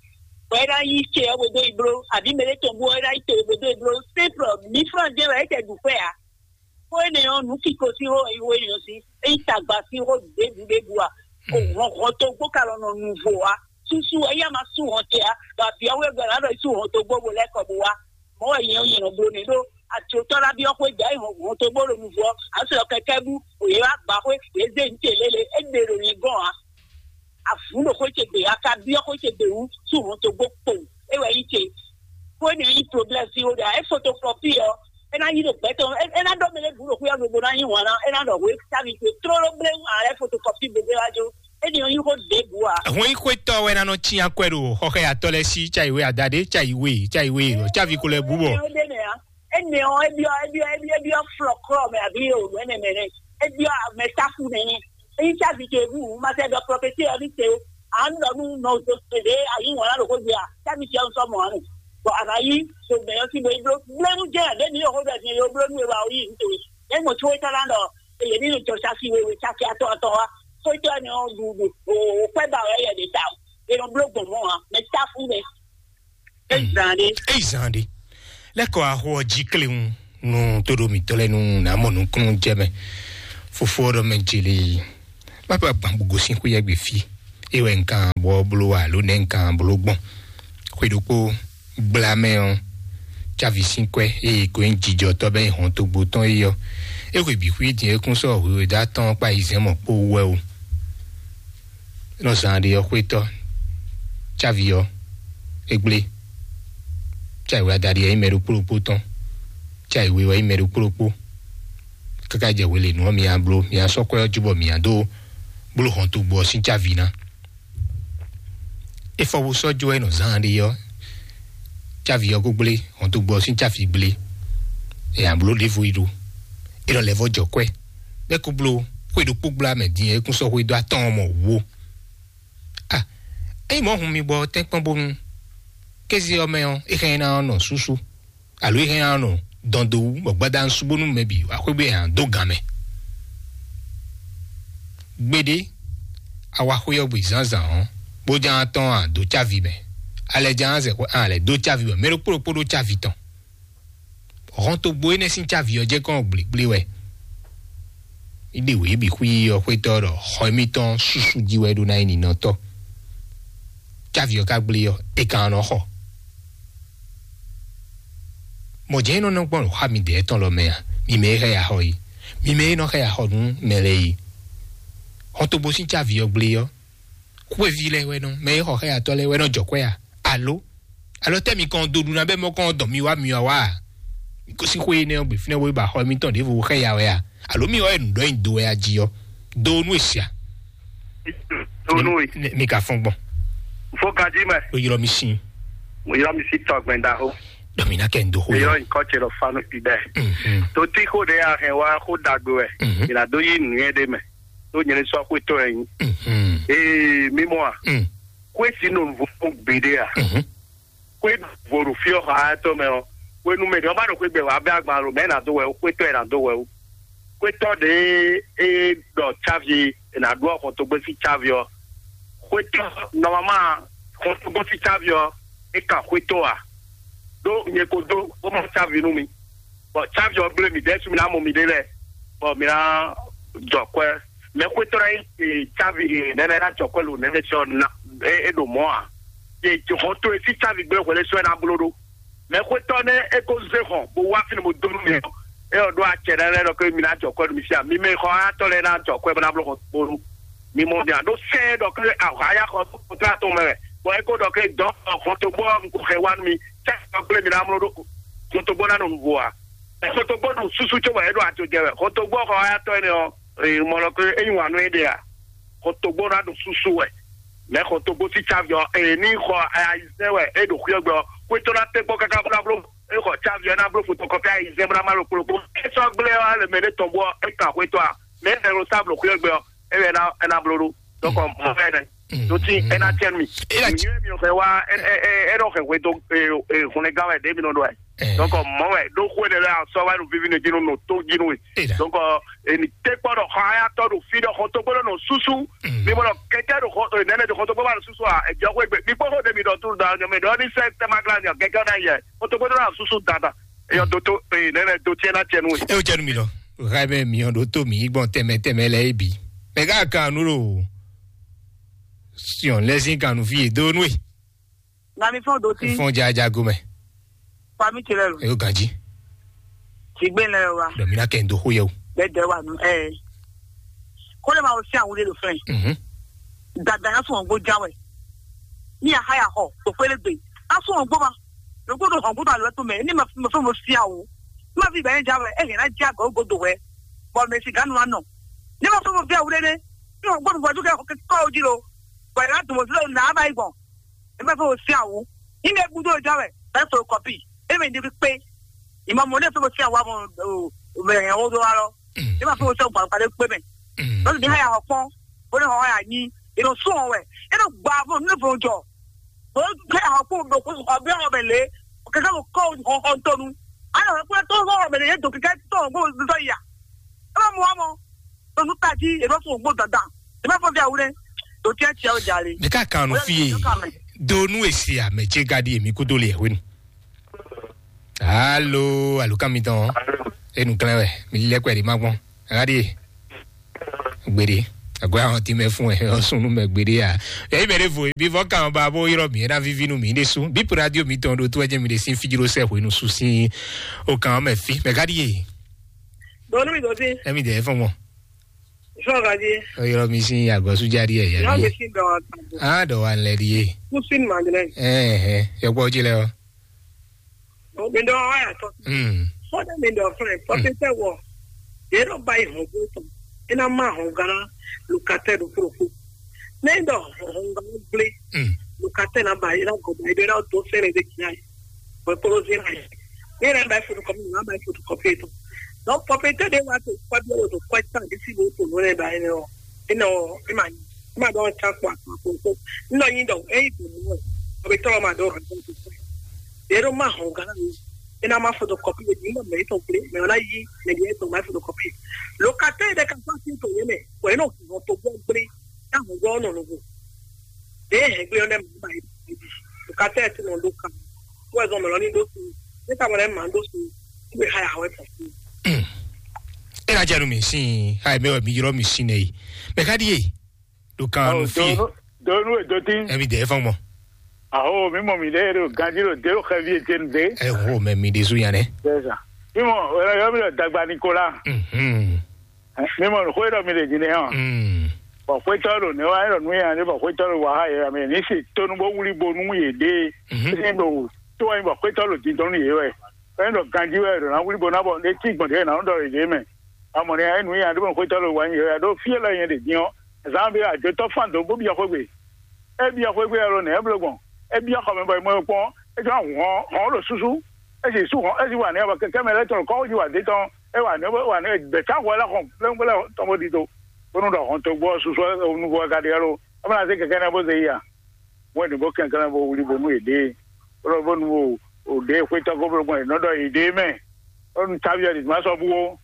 Bɔ é ná yí ce ɔ́ gbedó ìbló, àbí mɛ ɖé tɔn bú ɔ́ é ná yí to gbedó ìbló. Simple, mǐ flɔ́n jɛ wɛ é tɛ ɖu fɛ ǎ. Xó énɛ́ ɔ́, nǔ kiko sín xó xó énɛ́ ɔ́ sín, é nyí tagba sín xó ɖěbǔ ɖěbǔ ǎ. Hɔn hɔn tó gbó ka lɔ nɔ nu vo ǎ. Súsú ɛ yá ma sú hɔn ce ǎ. Bɔ abǐ ɔ́ wé gbɛ ná ɖɔ sú hɔn tó gbó bo lɛ́ kɔ bo wá. Mɔ̌ wɛ nyɛ nyɛ nɔ bló nɛ́ ɖó atlotɔ́ ná byɔ́ xwé gbɛ hɔn hɔn tó gbó ɖo nu vo ɔ́. Ǎ sɔ́ kɛkɛ́ bú, yě wá gbǎ xwé, yě zé nǔ ce lélẹ̀, é ɖe ɖo nyɛ gɔ́n ǎ. Avǔ ɖo xwé ce gbe, a ka byɔ́ xwé ce gbe wú sú hɔn tó gbó kpo. É wɛ nyí ce. Xó énɛ́ nyí problème sín xó ɖe ǎ. É fotokɔ́pi ɔ́, é ná yí ɖo gbɛtɔ́, é ná ɖɔ mɛ lɛ́ɛ bǔ ɖo xwé ɔ́ gbe bó ná nyí wǎn ná, é ná ɖɔ hwě sávi ce tlóló bléwún ǎ lɛ́ fotokɔ́pi bó gbé wá jó. É ɖi nyí xó ɖěbǔ ǎ. Hɔn yi xwétɔ wɛ ná nɔ tsi akwɛ ɖo xɔxɛ atɔ lɛ sí tsa yi we adade tsa yi we tsa yi we ɔ tsa vi ko lɛ bú bɔ. Ó ɖe mɛ ǎ. Énɛ́ ɔ́, é byɔ́ é byɔ́ é byɔ́ é byɔ́ flɔklɔ́ mɛ abǐ o nɛ́ mɛ nɛ́. É byɔ́ mɛ táfú nɛ́ nɛ́. É nyí tsa vi ce bú ma sɛ ɖɔ prɔfɛsí ɔ́ ní te o. À ń lɔ nú nɔ òdo tɛ̀lé ayíwọ̀n lá ɖo xó gbé a, tsa vi ce ɔ́ ń sɔ́ mɔ̌ ǎ nɛ. Bɔ a nǎ yí so mɛ ɔ́ sí bo yi bló bló nú jẹ́ ǎ, ɖě ní yǒ xó ɖɔ din yǒ bló nú e wa o yí nǔ towe. É mɔ có é tɔ́ ná ɖɔ Yě ní jɔ sáfi wewe sáfi atɔ́ atɔ́ wá. Xwétɔ́ ni ɔ́ ɖu ɖu o kwɛ́ ba wɛ yɛ ɖe ta o. È nɔ bló gbɔn mɔ̌ ǎ, mɛ táfú nɛ. É zan ɖé. Eyi zan ɖe. Lɛkɔ axo ɔ jí kléwun nú tóɖó mǐtɔn lɛ́ɛ nú nǎ mɔ nukúnnú jɛ mɛ. Fofó ɔ́ ɖɔ mɛ jeli má bá gbǎn bó gosín xwé yɛ́gbɛ fí. É wɛ un kan bɔ bló alo nɛ́ un kan bló gbɔn. Xwe ɖokpó gbla mɛ ɔ́, cávi sín kwɛ́ eye ko nyí jijɔtɔ́ bɛ́ nyí hɔn togbo tɔn é ɔ́, é xwe bǐ xwí din é kún sɔ́ hwǐhwɛ́dó atɔ́ɔ́n kpá yi zɛ̌n mɔ̌ kpó wú wɛ o. Nɔ zán ɖé ɔ́ xwétɔ́, cávi ɔ́, é gblé. Cávi wɛ adaɖi ɔ́ nyí mɛ ɖokpó ɖokpó tɔn, cávi we ɔ́ nyí mɛ ɖokpó ɖokpó. Káká jɛ hwelěnu ɔ́, mi nya bló, mi nya sɔ́ kwɛ́ ɔ́ jú bɔ mi nya dó bló hɔntogbó ɔ́ sín cávi ná. É fɔ bó sɔ́ jó wɛ nɔ zán ɖé ɔ́, cávi ɔ́ kó gblé, hɔntogbó ɔ́ sín cávi gblé. È nya bló ɖěvo yi ɖó. É nɔ lɛ́ vɔ́ jɔ kwɛ́. Bɛ́ kó bló xwé ɖokpó gbla mɛ din é kún sɔ́ xwé dó atɔ́ɔ́n mɔ wǔwo. A, ényí mɔ̌ hun mi gbɔ tɛ́nkpɔ́n bónú kéze ɔ́ mɛ ɔ́, é hɛn ná nɔ súsú, alo é hɛn ná nɔ dɔn dó wú, bɔ gbadanu sú bónú mɛ bǐ wá xwé bó nya dó gǎn mɛ. Gbeɖé, a wá xwé ɔ́ gbe zǎnzǎn ɔ́, bó ján tɔ́n a dó cávi mɛ, a lɛ ján zɛ xwé a lɛ dó cávi mɛ, mɛ ɖokpó ɖokpó ɖó cávi tɔn. Hɔntogbó énɛ́ sín cávi ɔ́ jɛ kɔn gblěgblé wɛ. Iɖe wě bǐ xwí ɔ́ xwétɔ́ ɖɔ xɔ émítɔn súsú jí wɛ ɖó ná nyí ninɔtɔ́. Cávi ɔ́ ka gblé ɔ́, é kan nɔ xɔ. Mɔ̌ jɛ́n é nɔ nɔ gbɔn xá midɛɛ tɔn lɔ mɛ a? Mi mɛ e xɛ ya xɔ yi, mi mɛ e nɔ xɛ ya xɔ nú mɛ lɛ́ɛ yi. Xɔntogbo sín cávi ɔ́ gblé ɔ́, xwéví lɛ́ɛ wɛ nɔ, mɛ e xɔ xɛ ya tɔ́ lɛ́ɛ wɛ nɔ jɔ kwɛ́ a? Alo alɔ tɛ́ mi kɔn dó ɖu ná bɛ́ mɔ kɔn dɔn mi wá mi wá wá a? Mi gosín xwé énɛ́ ɔ́ gbe fínɛ́ wó ba xɔ émítɔn ɖěvo xɛ ya wɛ a? Alo mi wá wɛ nǔ ɖɔ nyi do wɛ a jí ɔ́? Do nú e sia. Donu e. Mi ka fɔn gbɔn. Fo gaji mɛ. O ylɔ mi sin. Mo ylɔ mi si tɔgbɛn da ho. Dɔ mi na kɛ n do ho. Ylɔ nkɔ tse lɔ fanu fi dɛ. Mhm. To ti ko de a hɛn wa ko dagbe wɛ. Mhm. Ila do yi nu ye de mɛ. To nyɛ sɔ ko to yin. Mhm. Ee mi mɔ a. Mm. Ko si no vo gbe de a. Mhm. Xwé vo ɖo fí ɔ́ xaxátɔ́ mɛ ɔ́, xwénú mɛ ɖé ɔ́ ba ɖo xwé gbɛ wá bɛ agban lo mɛ ná dó wɛ ó, xwétɔ́ ɛ ná dó wɛ ó. Xwétɔ́ ɖě é ɖɔ cávi è nǎ ɖó xɔntogbó sín cávi ɔ́, xwétɔ́ nɔmama xɔntogbó sín cávi ɔ́, é kan xwétɔ́ ǎ. Ɖó nyɛ ko dó bó mɔ cávi nú mi, bɔ cávi ɔ́ gblé mì ɖɛ́ sú mi ná mɔ miɖée lɛ́ɛ, bɔ mi ná jɔ kwɛ́. Mɛ xwétɔ́ ná nyí e, cávi e, nɛnɛ ná jɔ kwɛ́ lo nɛnɛ sɔ na e, e ɖo mɔ̌ ǎ. E hɔn to e sí cávi gblé hwɛlɛ sɔ ɛ ná bló ɖó. Mɛ xwétɔ́ nɛ é ko zé hɔn bó wá fínɛ́ bó dó nú mi ɔ́, é ɔ́ ɖó acɛ nɛnɛ ɖɔ ké mi ná jɔ kwɛ́ nú mi sí a? Mi mɛ xɔ ayatɔ́ lɛ́ɛ ná jɔ kwɛ́ bó ná bló hɔn bó nú mi mɔ mi ǎ ɖó sɛ́n ɖɔ ké ahwǎyá xɔ tó atɔn mɛ wɛ, bɔ é ko ɖɔ ké dɔn hɔn tó gbɔ un ko xɛ wá nú mi, sɛ́n ɖɔ gblé mi ná mló ɖó hɔn tó gbɔ ná nɔ nǔvo ǎ. Hɔn tó gbɔ ɖo súsú cóbɔ é ɖo ajo jɛ wɛ. Hɔn tó gbɔ xɔ ayatɔ́ énɛ́ ɔ́, mɔ lɔ ké é nyi wǎn nú é ɖe ǎ. Xɔtɔgbó ná ɖo súsú wɛ. Mɛ xɔtɔgbó sí cávi ɔ́, eye ní xɔ ayizɛ́n wɛ é ɖo xwíɔ́gbɛ ɔ́, xwétɔ́ ná tɛ́ kpɔ́ káká bó ná bló é xɔ cávi ɔ́ ná bló fotokɔfí ayizɛ́n bó ná má ɖo kplɔ́kpó. É sɔ́ gblé ɔ́, lě mɛ ɖé tɔn bó ɔ́, é kan xwétɔ́ a? Mɛ é nɔ sa bló xwíɔ́gbɛ ɔ́, é wɛ é ná bló ɖó. Donc mɔ fɛ nɛ. Tó tí é ná tiɛ mi. Ìyẹn mi ò fẹ́ wá ẹ ẹ ẹ ẹ dọ̀ fẹ́ wé tó ẹ ẹ hùn ẹ gán wẹ̀ dé mi nɔ dọ̀ ẹ. Donc mɔ wɛ ɖó xó ɛnɛ lɛ asɔ wa ɖo vivi ne dzi nɔ nɔ tó dzi nɔ we. Donc eni te kpɔ ɖɔ xɔ aya tɔ ɖo fi ɖɔ xɔ tó gbɔdɔ nɔ susu. Mi bɔ ɖɔ kɛkɛ ɖo xɔ nɛnɛ ɖo xɔ tó gbɔdɔ nɔ susu a ɛjɔ xɔ egbe mi kpɔ xɔ ɖe mi ɖɔ tulu da nyɔ mi ɖɔ ni sɛ tɛma gla nyɔ kɛkɛ na yɛ xɔ tó gbɔdɔ nɔ susu dada. Eyɔ do to ee nɛnɛ do tiɛ na tiɛ nu we. E o jɛ nu mi lɔ. Ɣa mɛ mi ɔ ɖo tó mi gbɔn tɛmɛ tɛmɛ lɛ ebi. Mɛ ká kan nu ɖo siɔn lɛsin kan nu fi e do nu e. Na mi fɔn do ti. Fɔn jaja gomɛ. Fa mi tse lɛ lo. Eyo ganji. Ti gbe lɛ wa. Dɔ mi na kɛ n do xo yɛ o. Bɛ dɛ wa nu ɛ. Ko le ma o si awude lo fɛn. Mhm. Dada ya sɔn gbɔ ja wɛ. Ni a ha ya xɔ to kpele gbe. A sɔn gbɔ ma. Lo ko do hɔn gbɔ ma lo to mɛ. Ni ma ma fɛn mo si awu. Ma fi bɛ ja wɛ. E hɛn na ja go go do wɛ. Bɔ mɛ si ganu wa nɔ. Ni ma fɛn mo fi awude ne. Ni o gbɔ mo ju kɛ ko o ji lo. Bɔ ya dun mo fi lo na ba yi gbɔn. E ma fɛ o si awu. Ine gbudo ja wɛ. E fɛ o kɔpi. E mɛ ndi kpe. Ima mo ne fɛ o si awu mo o mɛ o do alɔ. E ma fɛ o si awu gba de kpe mɛ. Lɔsi ni haya hɔ kpɔn. O ne hɔ haya nyi. E nɔ sɔn wɛ. E nɔ gba mo ne fɛ o jɔ. O kɛ hɔ kpɔn do ko ɔbɛ hɔ mɛ le. Kɛkɛ mo kɔ hɔ hɔ ntɔnu. Ana hɔ kpɔn to hɔ mɛ le ye do kɛkɛ to hɔ kpɔn do ya. E ma mo wa mɔ. Ɖo nú tají, è nɔ fún ògbó dandan. È nɔ fún fíà wúlé. Ɖo tɛ́ tiɛ ó jalè. Mɛ ká kan nu fie. Do nu esi ame ce gadi emi kudo le hwenu. Alo, alo kan mi tɔn. Enu klɛn wɛ. Mi lɛ kwɛ di ma gbɔn. Gadi. Gbede. Agora hɔn ti mɛ fún ɛ, ɔsùn nu mɛ gbede ya. Yɛ ibɛ de vo, bi vɔ kan ba bo yɔrɔ mi, ena vivi nu mi de su. Bi radio mi tɔn do to ɛjɛ mi de sin fijiro sɛ hwenu su sin. O kan mɛ fi. Mɛ gadi ye. Donu mi do sin. Emi de fɔn mɔ. Sɔ gadi. O yɔrɔ mi sin agɔsu jadi ɛ ya. Yɔrɔ mi sin dɔ. Ah, dɔ wa lɛ di ye. Kusin mandrɛ. Eh, eh. Yɔkpɔ ji lɛ o. Mi ɖɔ wa ya tɔ. Mm. Fɔdɛ mi ɖɔ fún ɛ, pɔpɛtɛ wɔ. Yɛ ɖɔ ba yi hɔn gbé tɔn. E na ma hɔn gana lukatɛ ɖo fúrofú. Ne ɖɔ hɔn gana gblé. Mm. Lukatɛ na ba yi na gɔba yi ɖe na do sɛnɛ de kia yi. Wɛ kolo zi na yi. Ne na ba yi fotokɔpi na ba yi fotokɔpi tɔn. Donc pɔpɛtɛ de wa to kɔbi wo to kɔɛ tan de si wo to nɔ ne ba yi ne o. E nɔ e ma e ma dɔn can kpɔ akpɔ akpɔ. Nɔ yin dɔn e yi dɔn mɔ. Pɔpɛtɛ wa ma dɔn rɔ dɔn to kɔɛ. Yɛ ɖo ma hɔn gana mi. E na ma fotokɔpi e di mɔ mɛ tɔn gblé mɛ ɔ na yi mɛ di tɔn ma fotokɔpi. Locataire ɖe ka fa si to yɛ mɛ. Wɛ e nɔ hɔn to gbɔ gblé. Na hɔn gbɔ nɔ nuvo. Ɖe hɛn gblé ɔ nɛ mɔ ba yi. Locataire ti nɔ ɖo kan. Wɛ zɔn mɛ lɔ ni ɖo su. Ne ka mɔ lɛ ma ɖo su. Kúbe ha ya wɛ tɔn su. E na jɛ nu mi sin ha mɛ wɛ mi yrɔ mi sin nɛ yi. Mɛ ka di ye. Ɖo kan nu fi. Donu e do tin. Emi de fɔn mɔ. Aho mi mɔ mi ɖe ɖo ganji ɖo de ɖo xɛvi ete nu de. Ɛ ho mɛ mi de su yan nɛ. C'est ça. Mi mɔ wɛ yɔ mi ɖo dagba Nicolas. Mhm. Mi mɔ xwe ɖɔ mi ɖe dzi nɛ hàn. Mm. Bɔ xwetɔ ɖo ne wa ɖɔ nu yan ne bɔ xwetɔ ɖo wa ha yɛ mi ni si tonu bo wuli bo nu ye de. Mhm. Sin ɖo to wa bɔ xwetɔ ɖo dindɔn nu ye wɛ. Wɛ ɖɔ ganji wɛ ɖo na wuli bo na bɔ ne ti gbɔn de na ɖɔ ye de mɛ. Amɔ ne ya nu yan ɖo xwetɔ ɖo wa ye wɛ ɖo fi lɛ yɛ ɖe din ɔ. Zan bi a jotɔ fan do bo bi xwegbe. E bi xwegbe alo ne e blo gbɔn. E bi xɔ mɛ bɔ e mɔ e kpɔn. E jɔ hɔn hɔn ɖo susu. E si su hɔn e si wa ne bɔ kɛkɛ mɛ lɛ tɔn kɔ ji wa de tɔn. E wa ne wa ne bɛ ca hɔ lɛ xɔn plɛnplɛn tɔn bo di do. Bonu ɖɔ hɔn to gbɔ susu nuvo ka de alo. E ma se kɛkɛ ne bo ze yi a. Wɛn ɖe bó kɛnklɛ́n bó wlí bónú yě ɖée. Bó bónú o ɖě xwétɔ́ ko bló gbɔn yě nɔ ɖɔ yě ɖée mɛ. Bónú táví ɔ́ ɖi má sɔ́ bú ó.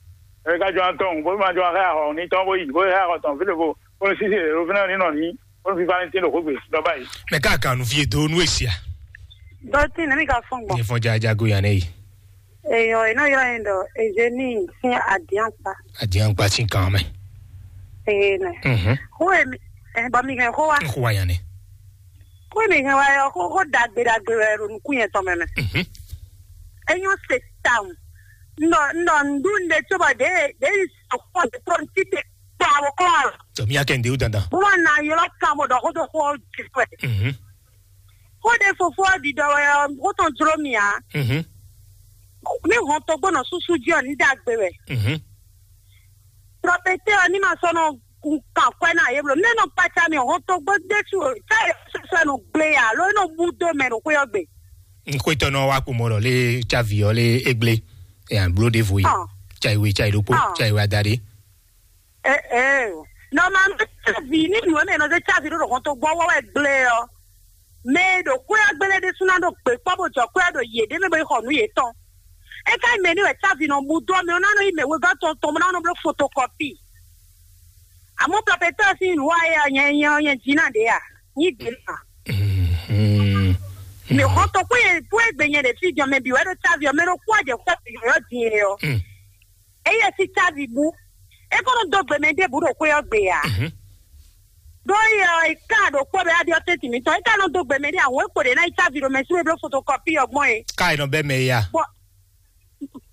Ɛ ká jɔ atɔn bó má jɔ axɛ axɔ ní tɔn bó yi bó xɛ axɔ tɔn fí ɖěvo bónú sísí ɖě ɖo fínɛ́ ní nɔ ní bónú fífá ní tín ɖo xwé gbe ɖɔ báyìí. Mɛ ká kan nu fí e dó nú èsì a? Dɔtí nɛmí ka fɔn gbɔn. Ní fɔn jaja go yàn ɛ yi. Eyɔ, e nɔ ylɔ́ yín ɖɔ Eugénie sín adiankpa. Adiankpa sín kan mɛ. Ee nɛ. Mhm. Xó e mi ɛ bɔ mi hɛn xó wa. Xó wa yàn ni. Xó e mi hɛn wa yɔ xó xó ɖagbe ɖagbe wɛ ɖo nukún yɛn tɔn mɛ mɛ. Mhm. Enyɔ se tawun. Ndɔ ndɔ ndu nde tso bɔ de de sɔkpɔ de pɔnti te kpa wo kɔn. Tɔmí akɛ ndewu dandan. Bó ma na ylɔ kan bó ɖɔ xó tó xó jifɛ. Mhm. Xó ɖe fofo ɔ́ ɖiɖɔ wɛ ɔ́, xó tɔn jló mì ǎ. Mhm. Ní hɔn togbó nɔ súsú jí ɔ́, ní ɖagbe wɛ. Mhm. Prɔfɛtɛ ɔ́, ní ma sɔ́ nɔ kan kwɛ́ ná yě bló. Nɛ́ nɔ kpaca mì hɔn togbó ɖésú o, tá yě sɔ́ nɔ gblé yà, alo é nɔ bú dó mɛ ɖo xwé ɔ́ gbe. Xwétɔ́nɔ wa kpomɔ ɖɔ lé cávi ɔ́ lé égbé. Ɛ bló ɖěvo yi. Ɔ́. Cá ìwé cá ìɖókpó, ɔ́, cá ìwé adaɖé. Ɛ ɛ, nɔmanu cávi ní nǔ e mɛ nɔ zé cávi ɖó ɖo hɔn togbó ɔ́ wɔ wɛ gblé ɔ́. Mɛ e ɖo xwé ɔ́ gbélé ɖésú ná ɖo gbě kpɔ́ bó jɔ xwé ɔ́ ɖo yě ɖé mɛ bó yi xɔ nǔ yětɔn. É ka nyí mɛ ní wɛ cávi nɔ bú dó ɔ́, mɛ ɔ́ ná nɔ yí mɛ wegɔ́ tɔn tɔn bó ná nɔ bló fotokɔpi. Amɔ̌ pɛpɛtɔ́ sín nǔ wa é ɔ́, nyɛ nyɛ ɔ́, nyɛ jí ná ɖě a? Nyí gbě ná. Mhm. Mɛ xɔ tɔn kpó yɛ kpó yɛ gbe nyɛ ɖe fí jɔ mɛ bǐ wɛ ɖo cávi ɔ́, mɛ ɖo kpó ɔ́ jɛ xwé ɔ́ din é ɔ́. Mm. Eye si cávi bú. É kó nɔ dó gbe mɛ ɖěbǔ ɖo xwé ɔ́ gbe ǎ. Mhm. Ɖó yɛ ɔ́, è ká ɖo kpɔ́ bɛ aɖi ɔ́ tɛ́ntin mǐtɔn. É ka nɔ dó gbe mɛ ɖé ǎ, hǔn é kpo ɖě ná yi cávi ɖo mɛ sú é bló fotokɔpi ɔ́ gbɔn é. Ká è nɔ bɛ́ mɛ ya. Bɔ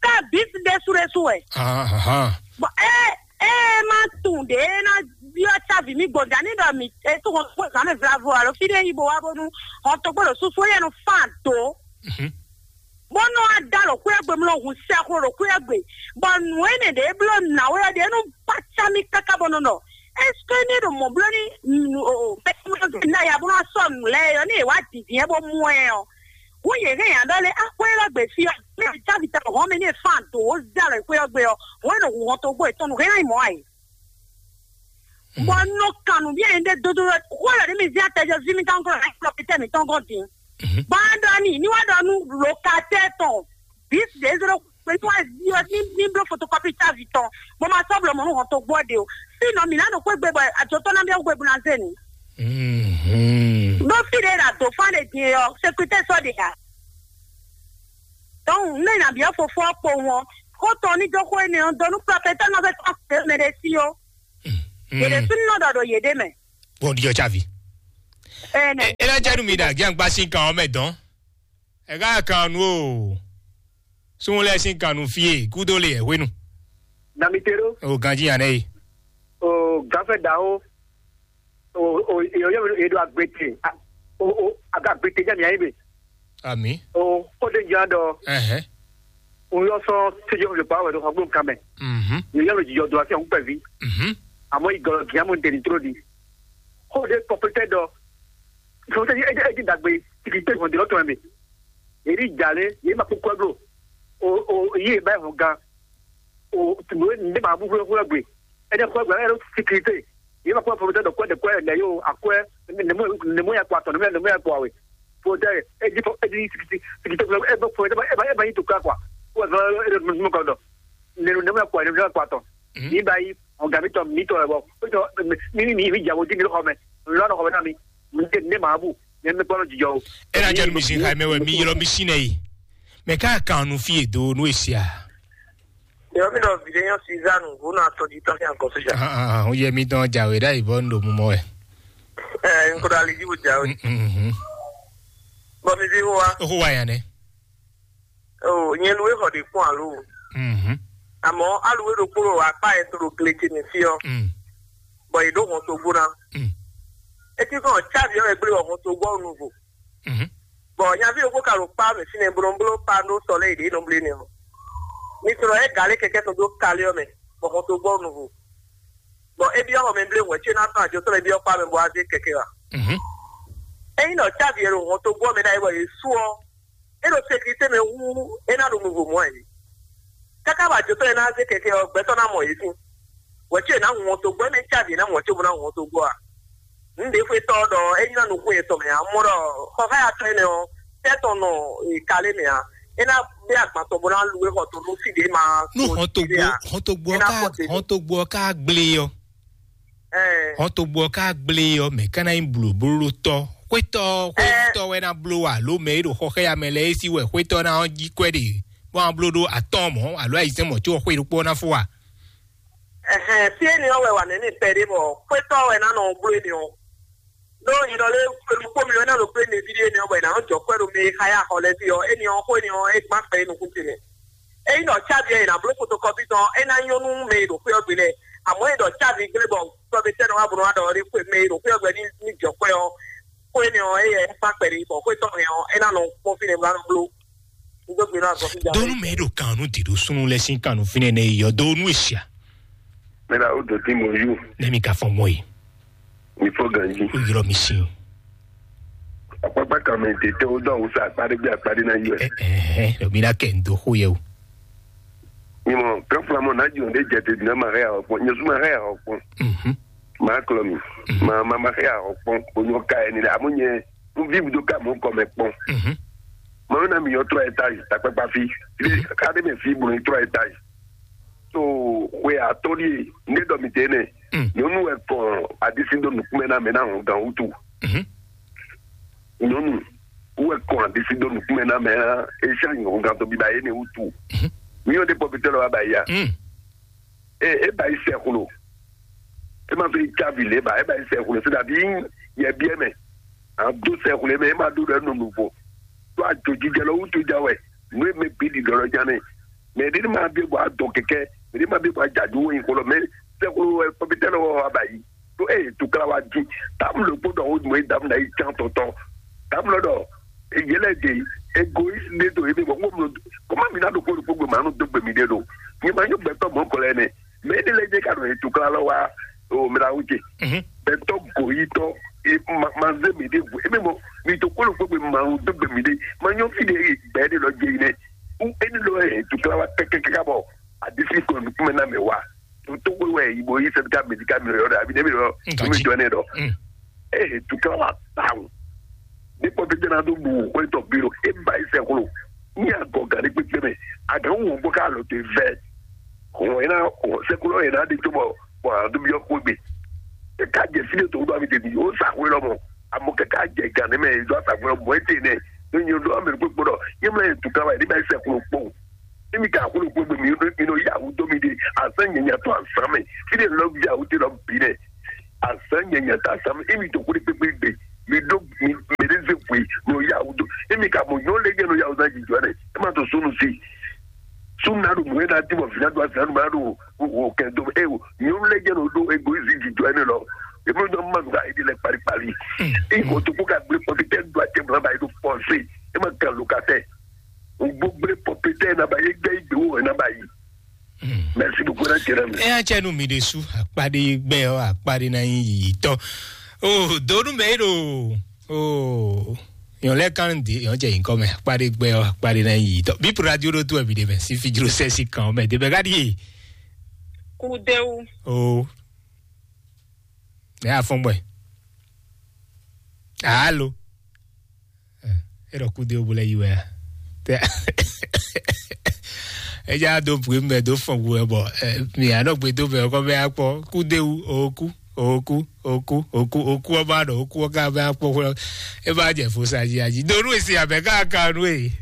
ká bǐ ɖésú ɖésú wɛ. Ahan. Bɔ é é má tunwun ɖě é ná byɔ́ cávi mì gbɔn dǎ ní ɖɔ mǐ é tó hɔn kpó zǎn mɛ vlavo alo fí ɖé yi bo wá bónú hɔn togbó ɖo súsú é yɛ nɔ fán dǒ. Mhm. Bó nɔ wá dá ɖo xwé ɔ́ gbe, mlɔ hun sɛxlo ɖo xwé ɔ́ gbe, bɔ nǔ énɛ́ ɖě bló nǎwe ɔ́ ɖě nɔ kpácá mì káká bɔ nɔ ɖɔ, est-ce que ní ɖo mɔ̌ bló ní mɛsɛmɔzɔn ná ya bó ná sɔ́ nǔ lɛ́ɛ ɔ́, ní è wá dǐndín ɛ bó mú ɛ ɔ́, hǔn yě hɛn nya ɖɔ lé axwé élɔ́ gbe fí ɔ́, mɛ cávi tɛ hɔn mɛ ní è fán dǒ wó zé alɔ xwé ɔ́ gbe ɔ́, hǔn é nɔ hu hɔn togbó yětɔn nǔ hɛn ná nyí mɔ̌ ǎ é. Bɔ nɔ kan nǔ byɔ́ nyɛ ɖe dodó wɛ xó lɛ ɖé mi zé atɛjɔ ví mi tán kɔ lɛ kplɔ pétɛ mi tɔn gɔn dín. Mhm. Bɔ a ɖɔ ni ní wá ɖɔ nú lokatɛ tɔn bí zézélo Pé tó wá di ɔ ní ní bló fotokɔpi távi tɔn. Mo ma sɔ́ blɔ mɔ̌ nú hɔn tó gbɔ ɖe o. Fínɔ mǐ ná ɖo xwé gbe bɔ àjọ tɔn ná bíá xwé bu ná zé nǔ. Mhm. Ɖó fí ɖé ɖa dǒ fán ɖe din ɔ sécurité sɔ́ ɖe ǎ. Donc ne nà bíá fofó ɔ́ kpo wọn. Xó tɔn ní dó xó énɛ́ ɔ́ dó nú prɔfɛtɛ́ nɔ fẹ́ tɔn fẹ́ mɛ ɖé sí ó. Yě ɖé súnú nɔ ɖɔ ɖo yě ɖé mɛ. Bɔn ɖiɔ tsavi. Ɛnɛ. E la jɛ nu mi da gyan gba sin kan ɔmɛ dɔn. E ka kan nu o. Sun lɛ sin kan nu fie kudo le ɛ hwenu. Damitero. O ganji yan nɛ yi. O gafɛ daho. O o e o yɛ e do agbete. O o aga agbete jẹ mi ayi be. Ami. O o de jẹ dɔ. Ɛhɛn. O yɔ sɔ sejɔ le pa wɛ do xɔ gbɔn kan mɛ. Mhm. Yɛ yɛ lo jijɔ do asi ɔn pɛ vi. Mhm. Amɔ igɔlɔ giamu de ni tro di. Xó ɖé kɔpɛtɛ ɖɔ sɔsɛ edi edi dagbe tigi te hɔn dilɔ tɔn mɛ. Eri dza lé yé ma kpókpó blo. O o yé ba hɔn gan. O tìmɔ ne ma bú hwɛ hwɛ gbe. Ɛdɛ hwɛ gbe ɛdɛ sikirite. Yé ma kpókpó blo tɛ dɔ kɔɛ dɛ kɔɛ lɛ yó akwɛ. Nemu nemu ya kpɔ atɔ nemu ya nemu ya kpɔ awe. Fo tɛ edi fo edi sikirite sikirite fo ebe fo ebe ebe yi to kura kwa. Ko ɛdɛ ɛdɛ numu kɔ dɔ. Nenu nemu ya kpɔ nemu ya kpɔ atɔ. Ní bá yí ọ̀gá mi tọ̀ mi tọ̀ ẹ̀ bọ̀ ó tọ̀ mí mí mí jà wò dí mi lọ́kọ̀ mẹ́ lọ́nà kọ̀ mẹ́ náà mi mi tẹ̀ ní màá bù ní ẹni pọ́nlọ́ jíjọ o. E na jɛ nu mi sin xayi mɛ wɛ mi ylɔ mi sin nɛ yi. Mɛ ka kan nu fi edo nu esia. Yɔ mi nɔ vide yɔ Suzanne vo na tɔ di tɔ fi ankɔ soja. Ah ah, o yɛ mi dɔn jawe da ibɔ ndo mu mɔ wɛ. Ɛ n ko da li di bo jawe. Mhm. Bɔ mi di wo wa. O ko wa yan nɛ. O nyɛ lu e xɔ de kpɔn alo. Mhm. Àmọ́ aluwe ɖokpó ɖo akpá yɛ to ɖo gle ce mɛ fí ɔ́, Mm. Bɔ yě ɖo hɔn togbó ná. Mm. Etí kɔn cávi ɔ́ wɛ gblé wɔ hɔn togbó ɔ́ nuvo. Mhm. Bɔ nyaví ɖokpó ka ɖo kpá mɛ fínɛ́ blóbló pa ɖó sɔ lɛ́ yě ɖě nɔ blé nɛ ɔ́. Mi sɔrɔ ɛ galé kɛkɛ tɔn dó kalé ɔ́ mɛ, bɔ hɔn togbó ɔ́ nuvo. Bɔ é byɔ́ xɔ mɛ blé wɛ̌ ce ná tɔn àjotɔ́ lɛ́ɛ byɔ́ kpá mɛ bɔ wá zé kɛkɛ wá. Mhm. Ényí ɖɔ cávi e ɖo hɔn togbó ɔ́ mɛ ɖ'ayǐ bɔ yě sú ɔ́, é ɖo sécurité mɛ hú é ná ɖo nuvo mɔ̌ ǎ é. Káká bɔ ajotɔ́ e ná zé kɛkɛ ɔ́, gbɛtɔ́ ná mɔ yě sín. Wɛ̌ ce ná hun hɔn togbó, émí cávi e ná mɔ cóbó ná hun hɔn togbó a? Nǔ ɖě xwetɔ́ ɔ́ ɖɔ é nyí ná nukún yětɔn mɛ ǎ. Mɔ ɖɔ xɔxáyatɔ́ énɛ́ ɔ́, tɛ́ tɔn nɔ kalé mɛ ǎ. É ná bɛ́ agban tɔn bó ná lu é xɔ tɔn nú fí ɖě ma Nú hɔn togbo hɔn togbo ɔ́ ká hɔn togbo ɔ́ ká gblé ɔ́. Hɔn togbo ɔ́ ká gblé ɔ́ mɛ ká ná nyí blǒblótɔ́. Xwétɔ́ xwétɔ́ wɛ ná bló alo mɛ e ɖo xɔxɛ́ya mɛ lɛ́ɛ é sí wɛ xwétɔ́ ná jí kwɛ́ ɖe bó ná bló ɖó atɔ́ɔ́n mɔ̌ alo ayizɛ́n mɔ̌ có xwé ɖokpó ná fó a? Ɛhɛn, fí énɛ́ ɔ́ wɛ wǎ nɛ́ ní pɛɖé bɔ xwétɔ́ wɛ ná nɔ bló énɛ́ ɔ́. Ɖó nyɛ ɖɔ lé xwé ɖokpó mi wɛ ná ɖo bló énɛ́ ví ɖé énɛ́ ɔ́ bɔ è nǎ nɔ jɔ kwɛ́ ɖo mɛ e xá yá xɔ lɛ́ɛ ví ɔ́, énɛ́ ɔ́ xó énɛ́ ɔ́ é gbán kpɛ é nukún ce mɛ. Ényí ɖɔ cávi ɔ́ è nǎ bló fotokɔpi tɔn ɔ́, é ná nyɔ́ nú mɛ e ɖo xwé ɔ́ gbe lɛ́ɛ. Àmọ́ é ɖɔ cávi gblé bɔ sɔ́betɛ́ nɔ wá bó nɔ wá ɖɔ ɔ́ ɖé xwé mɛ e ɖo xwé ɔ́ gbe ní ní jɔ kwɛ́ ɔ́, xó énɛ́ ɔ́, éyɛ́ é kpán kpɛɖé bɔ xwé tɔn hɛn ɔ́, é ná nɔ kpɔ́n fínɛ́ bó ná nɔ bló. Un dó gbe ná azɔn fí Donu mɛ ɖo kan nu diɖo sunu lɛ sin kan nu finɛ ne yɔ donu esia. Mira o do ti mo yu. Ne mi ka fɔ mɔ yi. Mi fo ganji. O yɔrɔ mi sin. Akpakpa kan mɛ tete o dɔ awusa akpaɖe gbe akpaɖe na yi wɛ. Ɛhɛn, mi na kɛ n do xo yɛ o. Nyimɔ kɛflamɔ na jɔ ne jɛ te dina ma hɛ awɔ kpɔn nyɛ suma hɛ awɔ kpɔn. Mhm. Ma klɔ mi. Ma ma ma hɛ awɔ kpɔn o nyɔ ka ɛni la amu nyɛ. Un vivi do ka mɔ kɔmɛ kpɔn. Mhm. Mɔ na mi yɔ trois étages takpakpa fi. Fi ka de mɛ fi bolo trois étages. So xwe atɔli ne dɔ mi te ne. Mm. Nyɔnu wɛ kɔn adisi do nukumɛ na mɛ na hɔn gan wutu. Mhm. Nyɔnu wɛ kɔn adisi do nukumɛ na mɛ na esa hɔn gan to biba ye ne wutu. Mhm. Mi yɔ de pɔpitɛ lɔ wa ba ya. Mm. E e ba yi sɛxlo. E ma fɛ yi cavi le ba e ba yi sɛxlo se dabi yɛ biɛ mɛ. A do sɛxlo mɛ e ma do ɖɔ nɔ nuvo. To a jo jijɛ lɔ wutu ja wɛ. Nu e mɛ bi di dɔ lɔ ja nɛ. Mɛ ɖe ni ma bi bɔ a dɔn kɛkɛ. Mɛ ɖe ma bi bɔ a ja ju wo yi xlo mɛ sɛxlo wɛ pɔpitɛ lɔ wɔ a ba yi. To e tukla wa di. Tam lo kpo dɔ wo mo e dam na yi can tɔtɔ. Tam lɔ dɔ yele de egoïste ne do ebe bɔ ŋgɔ mlɔ kɔma mi na ɖo kpɔɖo kpogbe ma nu dogbe mi ɖe ɖo nyɛ ma nyɔ gbɛtɔ mɔ kɔlɛ nɛ mɛ ne lɛ jɛ ka ɖo etu kla lɔ wa o mi la wuje Mhm. Gbɛtɔ goyitɔ e ma ma ze mi ɖe gu ebe mɔ mi to kpɔɖo kpogbe ma nu dogbe mi ɖe ma nyɔ fi ɖe gbɛ ɖe lɔ jɛ yi nɛ u eni lɔ etu kla wa kɛkɛkɛ ka bɔ adisi kɔ nukume na mɛ wa to to we wɛ ibo yi sɛbi ka medi ka mi yɔ dɔ abi ne mi yɔ Nka mi ji. Jɔ ne dɔ Mm. Ee tukla wa tawu. Ní pɔtɛjɛ náà tó bu wòkúnlẹ̀ tɔ bí lo é ba yi sɛ kúlò. Ní agɔgǎn ɖé kpékpé mɛ, agǎn wò bó ká lɔ te vɛ. Hɔn yɛn ná, sɛkúlɔ yɛn ná ɖe tó bɔ bɔ a ɖo byɔ́ xwé gbe. Ká jɛ fí ɖé tó ɖo ami tɛ́ ó sa xwé lɔ mɔ. Amɔ kɛká jɛ gǎn nɛ mɛ ɖo asa xwé lɔ mɔ é te nɛ. Ní nyɔ ɖo amɛ kpékpé ɖɔ yé mlɛ yɛ tu ká wá yɛ ní bá yɛ sɛkúlɔ kpɔn. Ní mi ka xwé lɔ kpɔn gbe mi ɖo mi nɔ yá wú dó mi ɖe. Azɛ nyɛ nya tó azan mɛ. Fí ɖé lɔ yá wú te lɔ bǐ nɛ. Azan nyanya ta sam emi to kuli kpekpe gbe. Mi do mi mele ze fui mi o ya wudo. Emi ka mo nyɔ le jɛ no ya wudo ji jɔ ne. E ma to sunu si. Sunu na do mo na di mo fina do asina ma do o kɛ do e o nyɔ le jɛ no do egoizi ji jɔ ne lɔ. E mo do ma ga e di le pali pali. E ko to ko ka gbe pɔtitɛ do ate mo na ba e do pɔnse. E ma kan lo ka tɛ. O gbogbo pɔtitɛ na ba ye gbe igbe wo na ba yi. Merci beaucoup, Rachel. Ɛ atsɛ nu mi ɖe su akpaɖe gbɛ ɔ akpaɖe na nyi yiyitɔ. O donu mɛ ɖo o yɔn lɛ kan de yɔn jɛ yinkɔ mɛ akpaɖe gbɛ ɔ akpaɖe na nyi yiyitɔ. Bipu radio ɖo tu ɛ mi ɖe mɛ si fi jlo sɛ si kan mɛ de bɛ ka ɖi ye. Kudewu. O mɛ afɔn gbɛ. Alo. E ɖɔ kudewu bo lɛ yi wɛ a? Tɛ e ja do bue mɛ do fɔn wu wɛ bɔ mi anɔ gbe do mɛ kɔ bɛ akpɔ kudewu oku oku oku oku oku ɔba ɖɔ oku ɔka bɛ akpɔ xwlɔ. E ba jɛ fo sa ji aji do nu esi abɛ ka ka nu e.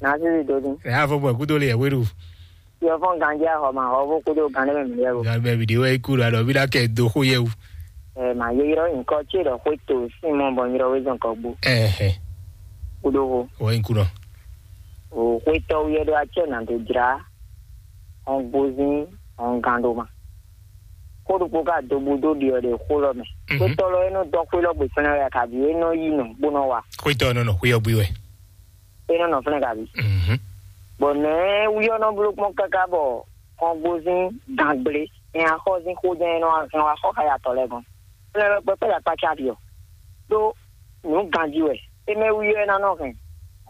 Na sisi do ni. Ɛ afɔ bɔ kudo le yɛ weɖu. Yɔfɔn ganjɛ ahɔma hɔvo kudo gan ɖe mɛ mi yɛ o. Gan bɛ mi de wɛ iku la ɖɔ mi la kɛ do xo yɛ wu. Ɛ ma ye yrɔ nyikɔ ce ɖɔ xwe to sin mɔ bɔ yrɔ we zɔn kɔ gbo. Ɛhɛ. Kudo ho. Wɔ iku nɔ. O xwe tɔ yɛ ɖo acɛ na do jra. Hɔn gbozin hɔn gan ɖo ma. Xo ɖokpo ka do bu do ɖiɔ ɖe xo lɔ mɛ. Xwe tɔ lɔ e nɔ dɔ xwe lɔ gbe fɛnɛ wɛ kabi e nɔ yi nɔ bo nɔ wa. Xwe tɔ nɔ nɔ xwe yɔ bui wɛ. E nɔ nɔ fɛnɛ kabi. Bɔ nɛɛ wuyɔ nɔ bló kpɔn káká bɔ kɔngbózín gangblé, nya xɔzín xójɛ́n e nɔ hɛn wá xɔ xá yatɔ lɛ́ɛ gɔ́n. Fɛnɛ wɛ kpɛkpɛ́ ya kpácá ɖi ɔ. Ɖó nǔ ganjí wɛ, é mɛ wuyɔ e ná nɔ hɛn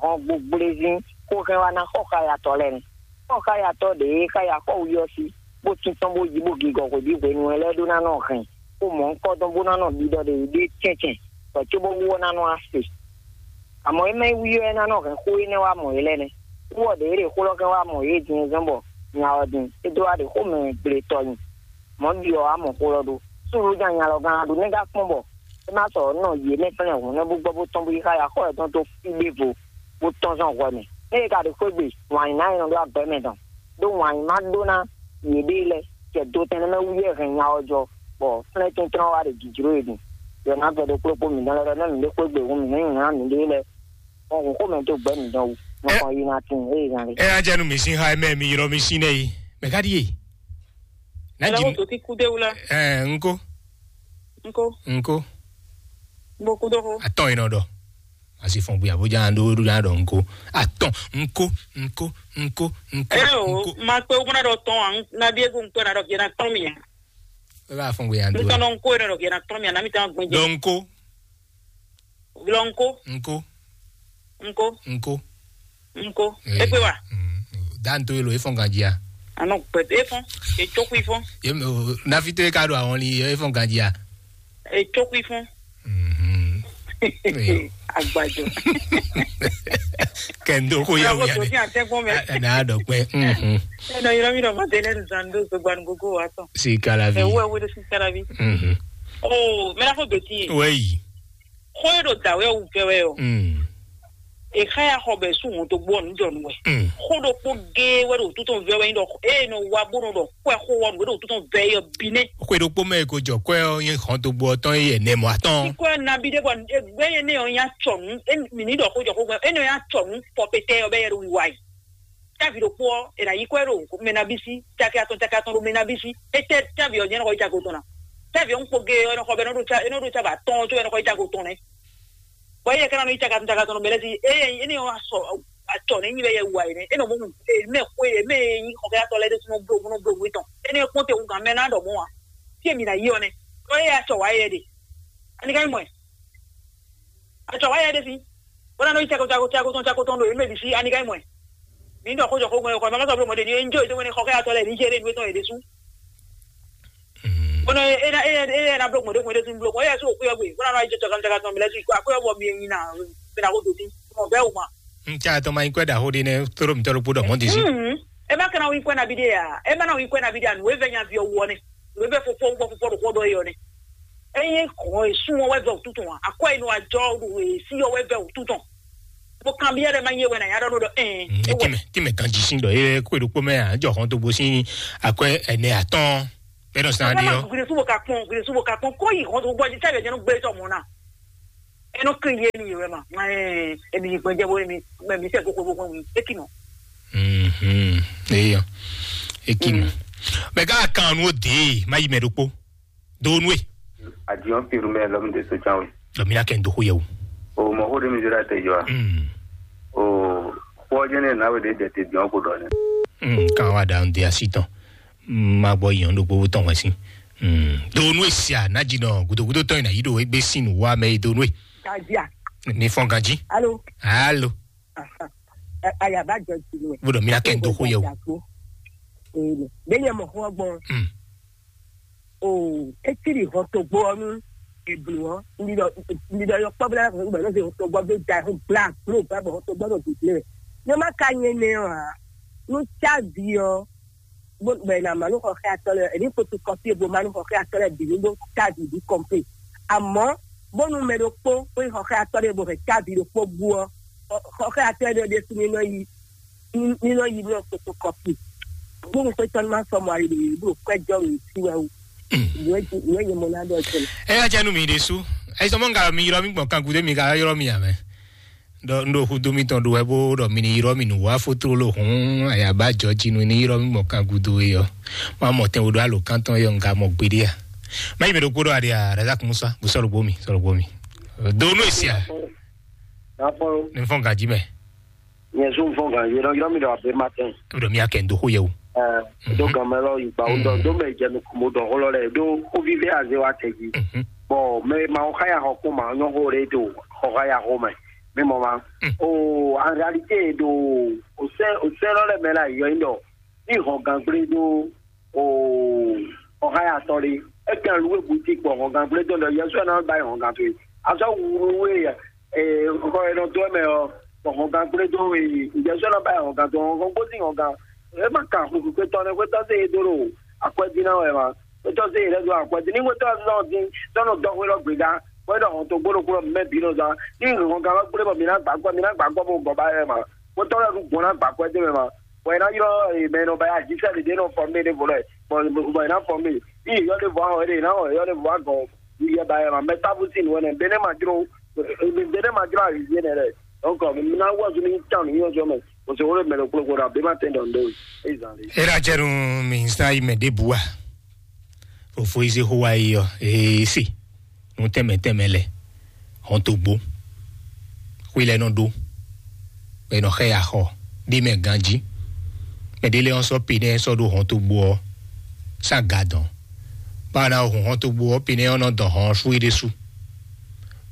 hɔn gbogblezín xó hɛn wá ná xɔ xá yatɔ lɛ́ɛ nɛ́. Xɔ xá yatɔ ɖě e xá ya xɔ wuyɔ sí, bó tíntɔ́n bó yí bó gigɔ hwebǐ hwenu ɛ lɛ́ɛ ɖó ná nɔ hɛn xó mɔ̌hunkɔtɔn bó ná nɔ ɖiɖɔ ɖě ɖé cɛ́ncɛ́n, bɔ cóbó wú ɔ́ ná nɔ wá se. Àmọ́ é mɛ wú ɔ́, é ná nɔ hɛn xó énɛ́ wá mɔ yě lɛ́ɛ nɛ́. Wú ɔ́, ɖě é ɖe xó lɔ kɛn wá mɔ yě din zɔ́n bɔ nya ɔ́ din, é dó wá ɖe xó mɛ gble tɔ nyi. Mɔ̌ ɖi ɔ́, wá mɔ xó lɔ ɖó. Súnnu ja nya lɔ gán ɖu nɛ́ gán kpɔ́n bɔ é má sɔ nɔ yě mɛ fɛ́nɛ hǔn nɛ́ bó gbɔ bó tɔ́n bó yi xá ya xɔ yětɔn dó fí ɖěvo bó tɔ́n zɔn hwɛ mɛ. Ée é ka ɖo xwé gbe, wǎn nyí ná nyɔ́ ɖó agbɛ́ mɛ tɔn, ɖó wǎn nyí má ɖó ná yěɖée lɛ́ɛ, jɛ do tɛn nɛ́ mɛ wú yɛ hɛn nya ɔ́ jɔ, bɔ flɛ́n tɛ́ntrɔ́n wá ɖe jǐjló yě din. Yɔ ná gbɛɖokplɔ́kpó mǐtɔn lɛ́ɛ ɖɔ nɛ́ mǐ ɖé xwé gbe hǔn mǐ nɛ́ nyǐ ná mǐɖée lɛ́ɛ. Hɔn hǔn xomɛ dó gbɛ̌ mǐtɔn wú, nɔ kɔn yi ná tín ée zan ɖe. Ɛ ajanu mi sin ha mɛ mi yrɔ mi sin nɛ yi. Mɛ ka ɖi ye? Na Ela ji ko to ti kude wula. Ɛ nko Nko. Nko. Bo kudo ko. Atɔn yi nɔ dɔ. Asi fɔn buya bo jan do do na dɔ nko. Atɔn nko nko nko nko. Ɛ o, ma pe o na dɔ tɔn an na bi egu nko na dɔ gena tɔn mi. E ba fɔn buya do. Nko no nko na dɔ gena tɔn mi na mi tan gbɔn. Dɔ nko. Vlɔ nko. Nko. Nko. Nko. Nko. Egbe wa. Dan to elo efɔn ganjia. Anɔ gbɛdɛ efɔn. Etsokui fɔn. Ye nafi to eka do awɔn li efɔn ganjia. Etsokui fɔn. Agbajɔ. Kɛndo ko ya Alo wia ko ne. Ti atɛgbɔn mɛ. Na dɔ pɛ. Ɛnɔ yɔrɔ mi dɔ ma tɛlɛ nzan do zogban gogo wa tɔn. Si kalavi. Ɛ wo ɛ wo de si kalavi. Oo mɛ na fɔ beti ye. Wɛyi. Xɔ ye ɖo da wɛ wu kɛ wɛ o. Exa ya xɔ bɛ su ŋun to gbɔ nu jɔ nu wɛ. Xɔ ɖokpo gee wɛ ɖo tutɔn vɛ wɛ nyi ɖɔ e nɔ wa bo nɔ ɖɔ kɔɛ xɔ wɔ nu wɛ ɖo tutɔn vɛ yɔ bi nɛ. Xɔ ɖokpo mɛ ko jɔ kɔɛ ɔ nye xɔn to gbɔ tɔn ye nɛ mɔ atɔn. Kɔɛ nabi ɖe bɔ egbe ye ne yɔ nya tsɔ nu e mi ni ɖɔ xɔ jɔ xɔ gbɛ e nɔ nya tsɔ nu pɔpɛtɛ yɔ bɛ yɛ ɖo wiwa yi. Tɛ́ vǐ ɖokpó ɔ́, è nǎ yí kɔ́ ɛ ɖo mɛ nabí sí, caki atɔn caki atɔn ɖo mɛ nabí sí. Étɛ́ tɛ́ vǐ ɔ́ jɛ́n nɔ xɔ yí caki atɔn ná? Tɛ́ vǐ ɔ́ ń kpo gé ɔ́, é nɔ xɔ bɛ é nɔ ɖo cá é nɔ ɖo cá bɛ atɔ́ɔ́n có é nɔ xɔ yí caki atɔn nɛ́. Bɔ éyɛ́ ká ná nɔ yí caki atɔn caki atɔn ɖo mɛ lɛ́ɛ sí, éyɛ́ é ní ɔ́ sɔ acɔ nɛ́ nyí bɛ yɛ wu ayǐ nɛ́. É nɔ mɔ mɛ xwe mɛ e nyí xɔxɔyatɔ́ lɛ́ɛ ɖésú nɔ bló bó nɔ bló nǔ étɔn. Énɛ́ ɔ́ kpɔ́n te hú gǎn mɛ ná ɖɔ mɔ̌ ǎ. Fí e mi ná yí ɔ́ nɛ́. Ɖó éyɛ́ acɔ wǎ yɛ ɖe. Ani ka nyí mɔ ɛ? Acɔ wá yɛ ɖe fi. Wona nɔ yi cako cako cako tɔn cako tɔn ɖo yě mɛ bǐ sí ani ka nyí mɔ ɛ? Mi ɖɔ xó jɔ xó gbɔn yɔ kɔ mama sɔ bló mɔ ɖe ni enjoy to wɛni xɔ kɛ atɔ lɛ ni jɛ ɖe nu etɔn yɛ ɖe sú. Wona e na e na e na bló gbɔn ɖe gbɔn ɖe sú bló mɔ yɛ sú òkú yɔ gbé wona nɔ yi jɔ caka caka tɔn mi lɛ sú akó yɔ bɔ mi nyi na mi na ko do ti mɔ bɛ o ma. N ca tɔn ma nyí kwɛ ɖaxó ɖé nɛ́, tlóló mǐtɔn ɖokpó ɖɔ mɔ̌ din sí. Mm. E ma kana wí kwɛ nabi ɖe ya, e ma na wí kwɛ nabi ɖe ya, nǔ e vɛ nyavi ɔ́ wú ɔ́ nɛ, nǔ e vɛ fofo wú fɔfɔ ɖo xɔ ɖɔ é ɔ́ nɛ. Eye xɔ e sun ɔ́ wɛ vɛ wútu tɔn a, akɔ e nɔ ajɔ ɖo e si ɔ́ wɛ vɛ wútu tɔn. Mo kan biɛ ɖe ma nyɛ wɛ na ya ɖɔ ɖɔ ɛn. Tìmɛ tìmɛ ganji sín ɖɔ ye kó ɖokpó mɛ à jɔ xɔn tó gbó sín akwɛ ɛnɛ atɔn. Bɛnɔ sàn ɖe yɔ. Gure subo ka kpɔn, gure subo ka kpɔn, kó yi xɔn tó gbɔ jí sɛbɛ jɛnu gbé tɔ mɔ na. Eno kiri ye ni yɛ wɛ ma. Ɛɛ, emi yi gbɛjɛ bo emi, mɛ mi sɛ koko bo kɔn eki nɔ. Mhm. Eyɔ. Eki nɔ. Mɛ ká kan nu o de, ma yi mɛ ɖokpó. Do nu e. Adiɔn piru mɛ lɔmi de so can we. Lɔmi na kɛ n do xo yɛ o. O mɔ xo de mi zira te jɔ a. Mm. O xɔ jɛ ne na we de de te diɔn ko dɔ ne. Mm, kan wa da n de asi tɔn. Mm, ma gbɔ yɔn ɖo gbogbo tɔn wɛ sin. Mm. Do nu e sia na ji nɔ gudogudo tɔn yi na yi ɖo egbe sin nu wa mɛ yi do nu e. Gajia. Ni fɔn ganji. Alo. Alo. Aha. Ɛ, ayaba jɔ ti nɛ. Gbɔdɔ mi na kɛ n do xo yɛ o. Ee, bɛ nyɛ mɔ xɔ gbɔn. Mm. O, etiri hɔn to gbɔ nu. Eblu ɔ, ndi dɔ, ndi dɔ yɔ kpɔ bla ko gbɛ no se hɔn to gbɔ be da ho bla blo ba bɔ hɔn to gbɔ no bi ble. Ne ma ka nye ne ɔ a, nu ca vi ɔ, bó bɛ na ma nu xɔxɛ atɔ lɛ, ɛni ko tu kɔpi bo ma nu xɔxɛ atɔ lɛ bi nu bó ca vi bi kɔmpe. Amɔ bónú mɛ ɖokpó kó nyí xɔxɛatɔ́ ɖé bó hɛn cávi ɖokpó bú ɔ́, xɔxɛatɔ́ ɖé ɖésú ní nɔ yi ní nɔ yi nɔ fotokɔpi. Bónú xwétɔ́ ní má sɔ́ mɔ ali ɖě bó kwɛ́jɔ wě sí wɛ wú. Nǔ e nǔ e nyɛ mɔ ná ɖɔ jɛ. Eya jɛ nú mi ɖésú. Ayisɔmɔ ŋgalɔ mi ylɔ́ mi gbɔn kan gúdo mi ka ylɔ́ mi ǎ mɛ. Ɖɔ un ɖo xúdó mitɔn ɖo wɛ bó ɖɔ mi ní ylɔ́ mi nǔ wá fótlóló hǔn ayaba jɔ jí nú ní ylɔ́ mi gbɔn kan gúdo é ɔ́. Má mɔ tɛn wo ɖo alǒkántɔn é ɔ́ un ka mɔ gbeɖé a. Má yi mɛ ɖokpó ɖɔ aɖe a Razak Musa bó sɔ́ ɖokpó mi sɔ́ ɖokpó mi. Do nú èsì a. Nàfɔlù. Ní fɔn gǎjí mɛ. Nyɛ zó fɔn gǎjí nɔ ylɔ́ mi ɖɔ abě ma tɛn. Ó ɖɔ mi akɛ ń dó xó yɛ o. Ɛ, do gan mɛ lɔ yi gba wo dɔ do mɛ jɛ nu mo dɔ xó lɔ lɛ do xó vivi aze wa tɛ ji. Bɔn mɛ ma xɔ xaya xɔ kó ma nyɔ xó ɖe do xɔ xaya xó mɛ. Mi mɔ ma. O en réalité do o sɛ o sɛ lɔ lɛ mɛ la yɔ yi dɔ ni hɔn gan gblé do o xɔ xaya tɔ ɖe. E kan lu e bu ti kpɔ hɔn gan gblé do dɔ yɛsu na ba hɔn gan to yi. Azɔ wu we e xɔ e nɔ do mɛ ɔ bɔ hɔn gan gblé do e yɛsu na ba hɔn gan to hɔn gbó ti hɔn gan. E ma kan xwixwitɔ ne xwetɔ se e do ɖo akwɛdina wɛ ma. Xwetɔ se yě lɛ́ dó akwɛ́ dín ní xwetɔ́ ɔ́ zɔ́n dín tɔ́ nɔ dɔxwé lɔ gběgá, bɔ é ɖɔ hɔn togbó ɖokpó lɔ mɛ bǐ nɔ zán. Ní hɔn gán lɔ gblé bɔ mǐ ná gbǎ akwɛ́, mǐ ná gbǎ akwɛ́ bó gɔ́ ba yɛ ma. Xwetɔ́ lɔ ɖu gbɔn ná gbǎ akwɛ́ dó mɛ ma. Bɔ è nǎ ylɔ́ mɛ e nɔ ba yá jísɛ ɖě nɔ fɔ mé ɖěvo lɛ, bɔ è nǎ fɔ mé. Ní yě yɔ ɖěvo ahɔn é ɖe, è nǎ hɔn yě yɔ ɖěvo agɔn yɛ ba yɛ ma. Mɛ tábú sín nǔ ɛnɛ, bɛnɛ́ ma jló, bɛnɛ́ ma jló ayǐ yé nɛ lɛ. Donc, mǐ ná wɔ zú ní tán nǔ nyɔ́jɔ mɛ. Kòsòwò lè mɛ ɖokplɔ́kplɔ́ ɖo abě ma tɛn ɖɔ ndo. Ezan ɖe. Era jɛ nu mi sa yi mɛ ɖěbǔ a? Fofo yi se xó wa yi ɔ ee se nu tɛnmɛ tɛnmɛ lɛ hɔn to gbó xwé lɛ nɔ ɖó bɛ nɔ xɛ ya xɔ ɖé mɛ ganjí mɛ ɖé lɛ ɔn sɔ pe nɛ sɔ ɖó hɔn to gbó ɔ sa ga dɔn báwo na hun hɔn to gbó ɔ pe nɛ ɔn nɔ dɔn hɔn ɔ sú yi ɖésú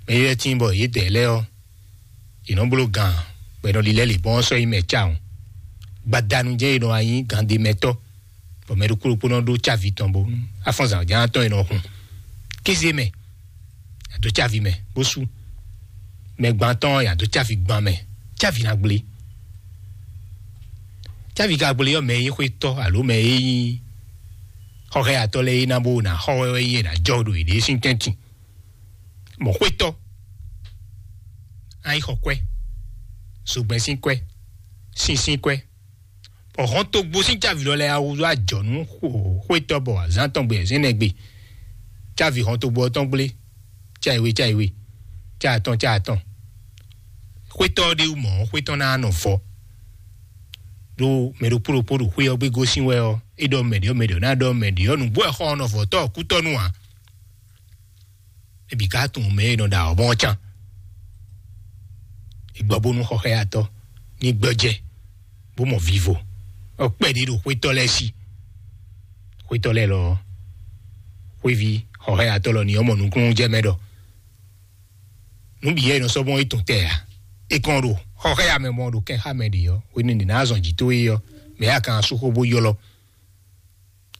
mɛ yi lɛ tín bɔ yě dɛ lɛ ɔ yě nɔ bló gǎn bɔ è nɔ lilɛ lǐbɔ́n ɔ́ sɔ́ yi mɛ cawun. Gbadanu jɛ́n è nɔ wá nyí gǎndémɛtɔ́, bɔ mɛ ɖokpó ɖokpó nɔ ɖó cávi tɔn bó afɔ́nzǎn ján tɔn è nɔ hun. Kéze mɛ, a dó cávi mɛ bó sú. Mɛ gbantɔ́ ɔ́, a dó cávi gban mɛ, cávi ná gblé. Cávi ka gblé ɔ́, mɛ e nyí xwétɔ́ alo mɛ e nyí xɔxɛyatɔ́ lɛ́ɛ é ná bó ná xɔ wɛ wɛ nyí è nǎ jɔ ɖo yěɖée sín tɛ́ntin. Mɔ̌ xwétɔ́, a yi xɔ kwɛ́, zogbɛ́n sín kwɛ́, sin sín kwɛ́, bɔ hɔn togbo sín cávi lɔ lɛ́ɛ awu wá jɔ nú xwétɔ́ bɔ azǎn tɔn gbe zɛ́nɛ gbe, cávi hɔn togbo ɔ́ tɔn gblé, cáiwe cáiwe, cáatɔn cáatɔn. Xwétɔ́ ɔ́ ɖé wú mɔ̌, xwétɔ́ ná nɔ vɔ. Ɖó mɛ ɖokpó ɖokpó ɖo xwé ɔ́ gbé gosín wɛ ɔ́, é ɖɔ mɛ ɖě ɔ́, mɛ ɖě ɔ́ ná ɖɔ mɛ ɖě ɔ́, nǔgbó wɛ xɔ ɔ́ nɔ vɔ tɔ́ ɔ́ kútɔ́ nú ǎ. Ebi ka tunwun mɛ e nɔ ɖa ɔ́ mɔ can. Igbɔ bónú xɔxɛyatɔ́ ní gbɔjɛ bó mɔ vivo. Ɔ kpɛɖé ɖo xwétɔ́ lɛ́ɛ sí. Xwétɔ́ lɛ́ɛ lɔ xwéví xɔxɛyatɔ́ lɔ ní ɔmɔ nukúnnú jɛ mɛ ɖɔ. Nǔ bǐ yɛ nɔ sɔ́ mɔ é tɔn tɛ ǎ. É kɔn ɖo xɔxɛya mɛ mɔ ɖo kɛn xá mɛ ɖě ɔ́, hwenu ní ná zɔn jǐ tó é ɔ́, mɛ ya kan asúxó bó ylɔ́.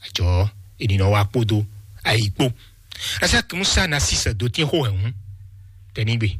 Ajɔ ènìyàn wa kpódó ayǐ kpó. Razak Musa na sísè dó tín xó hɛ̌nnu tɛnígbe.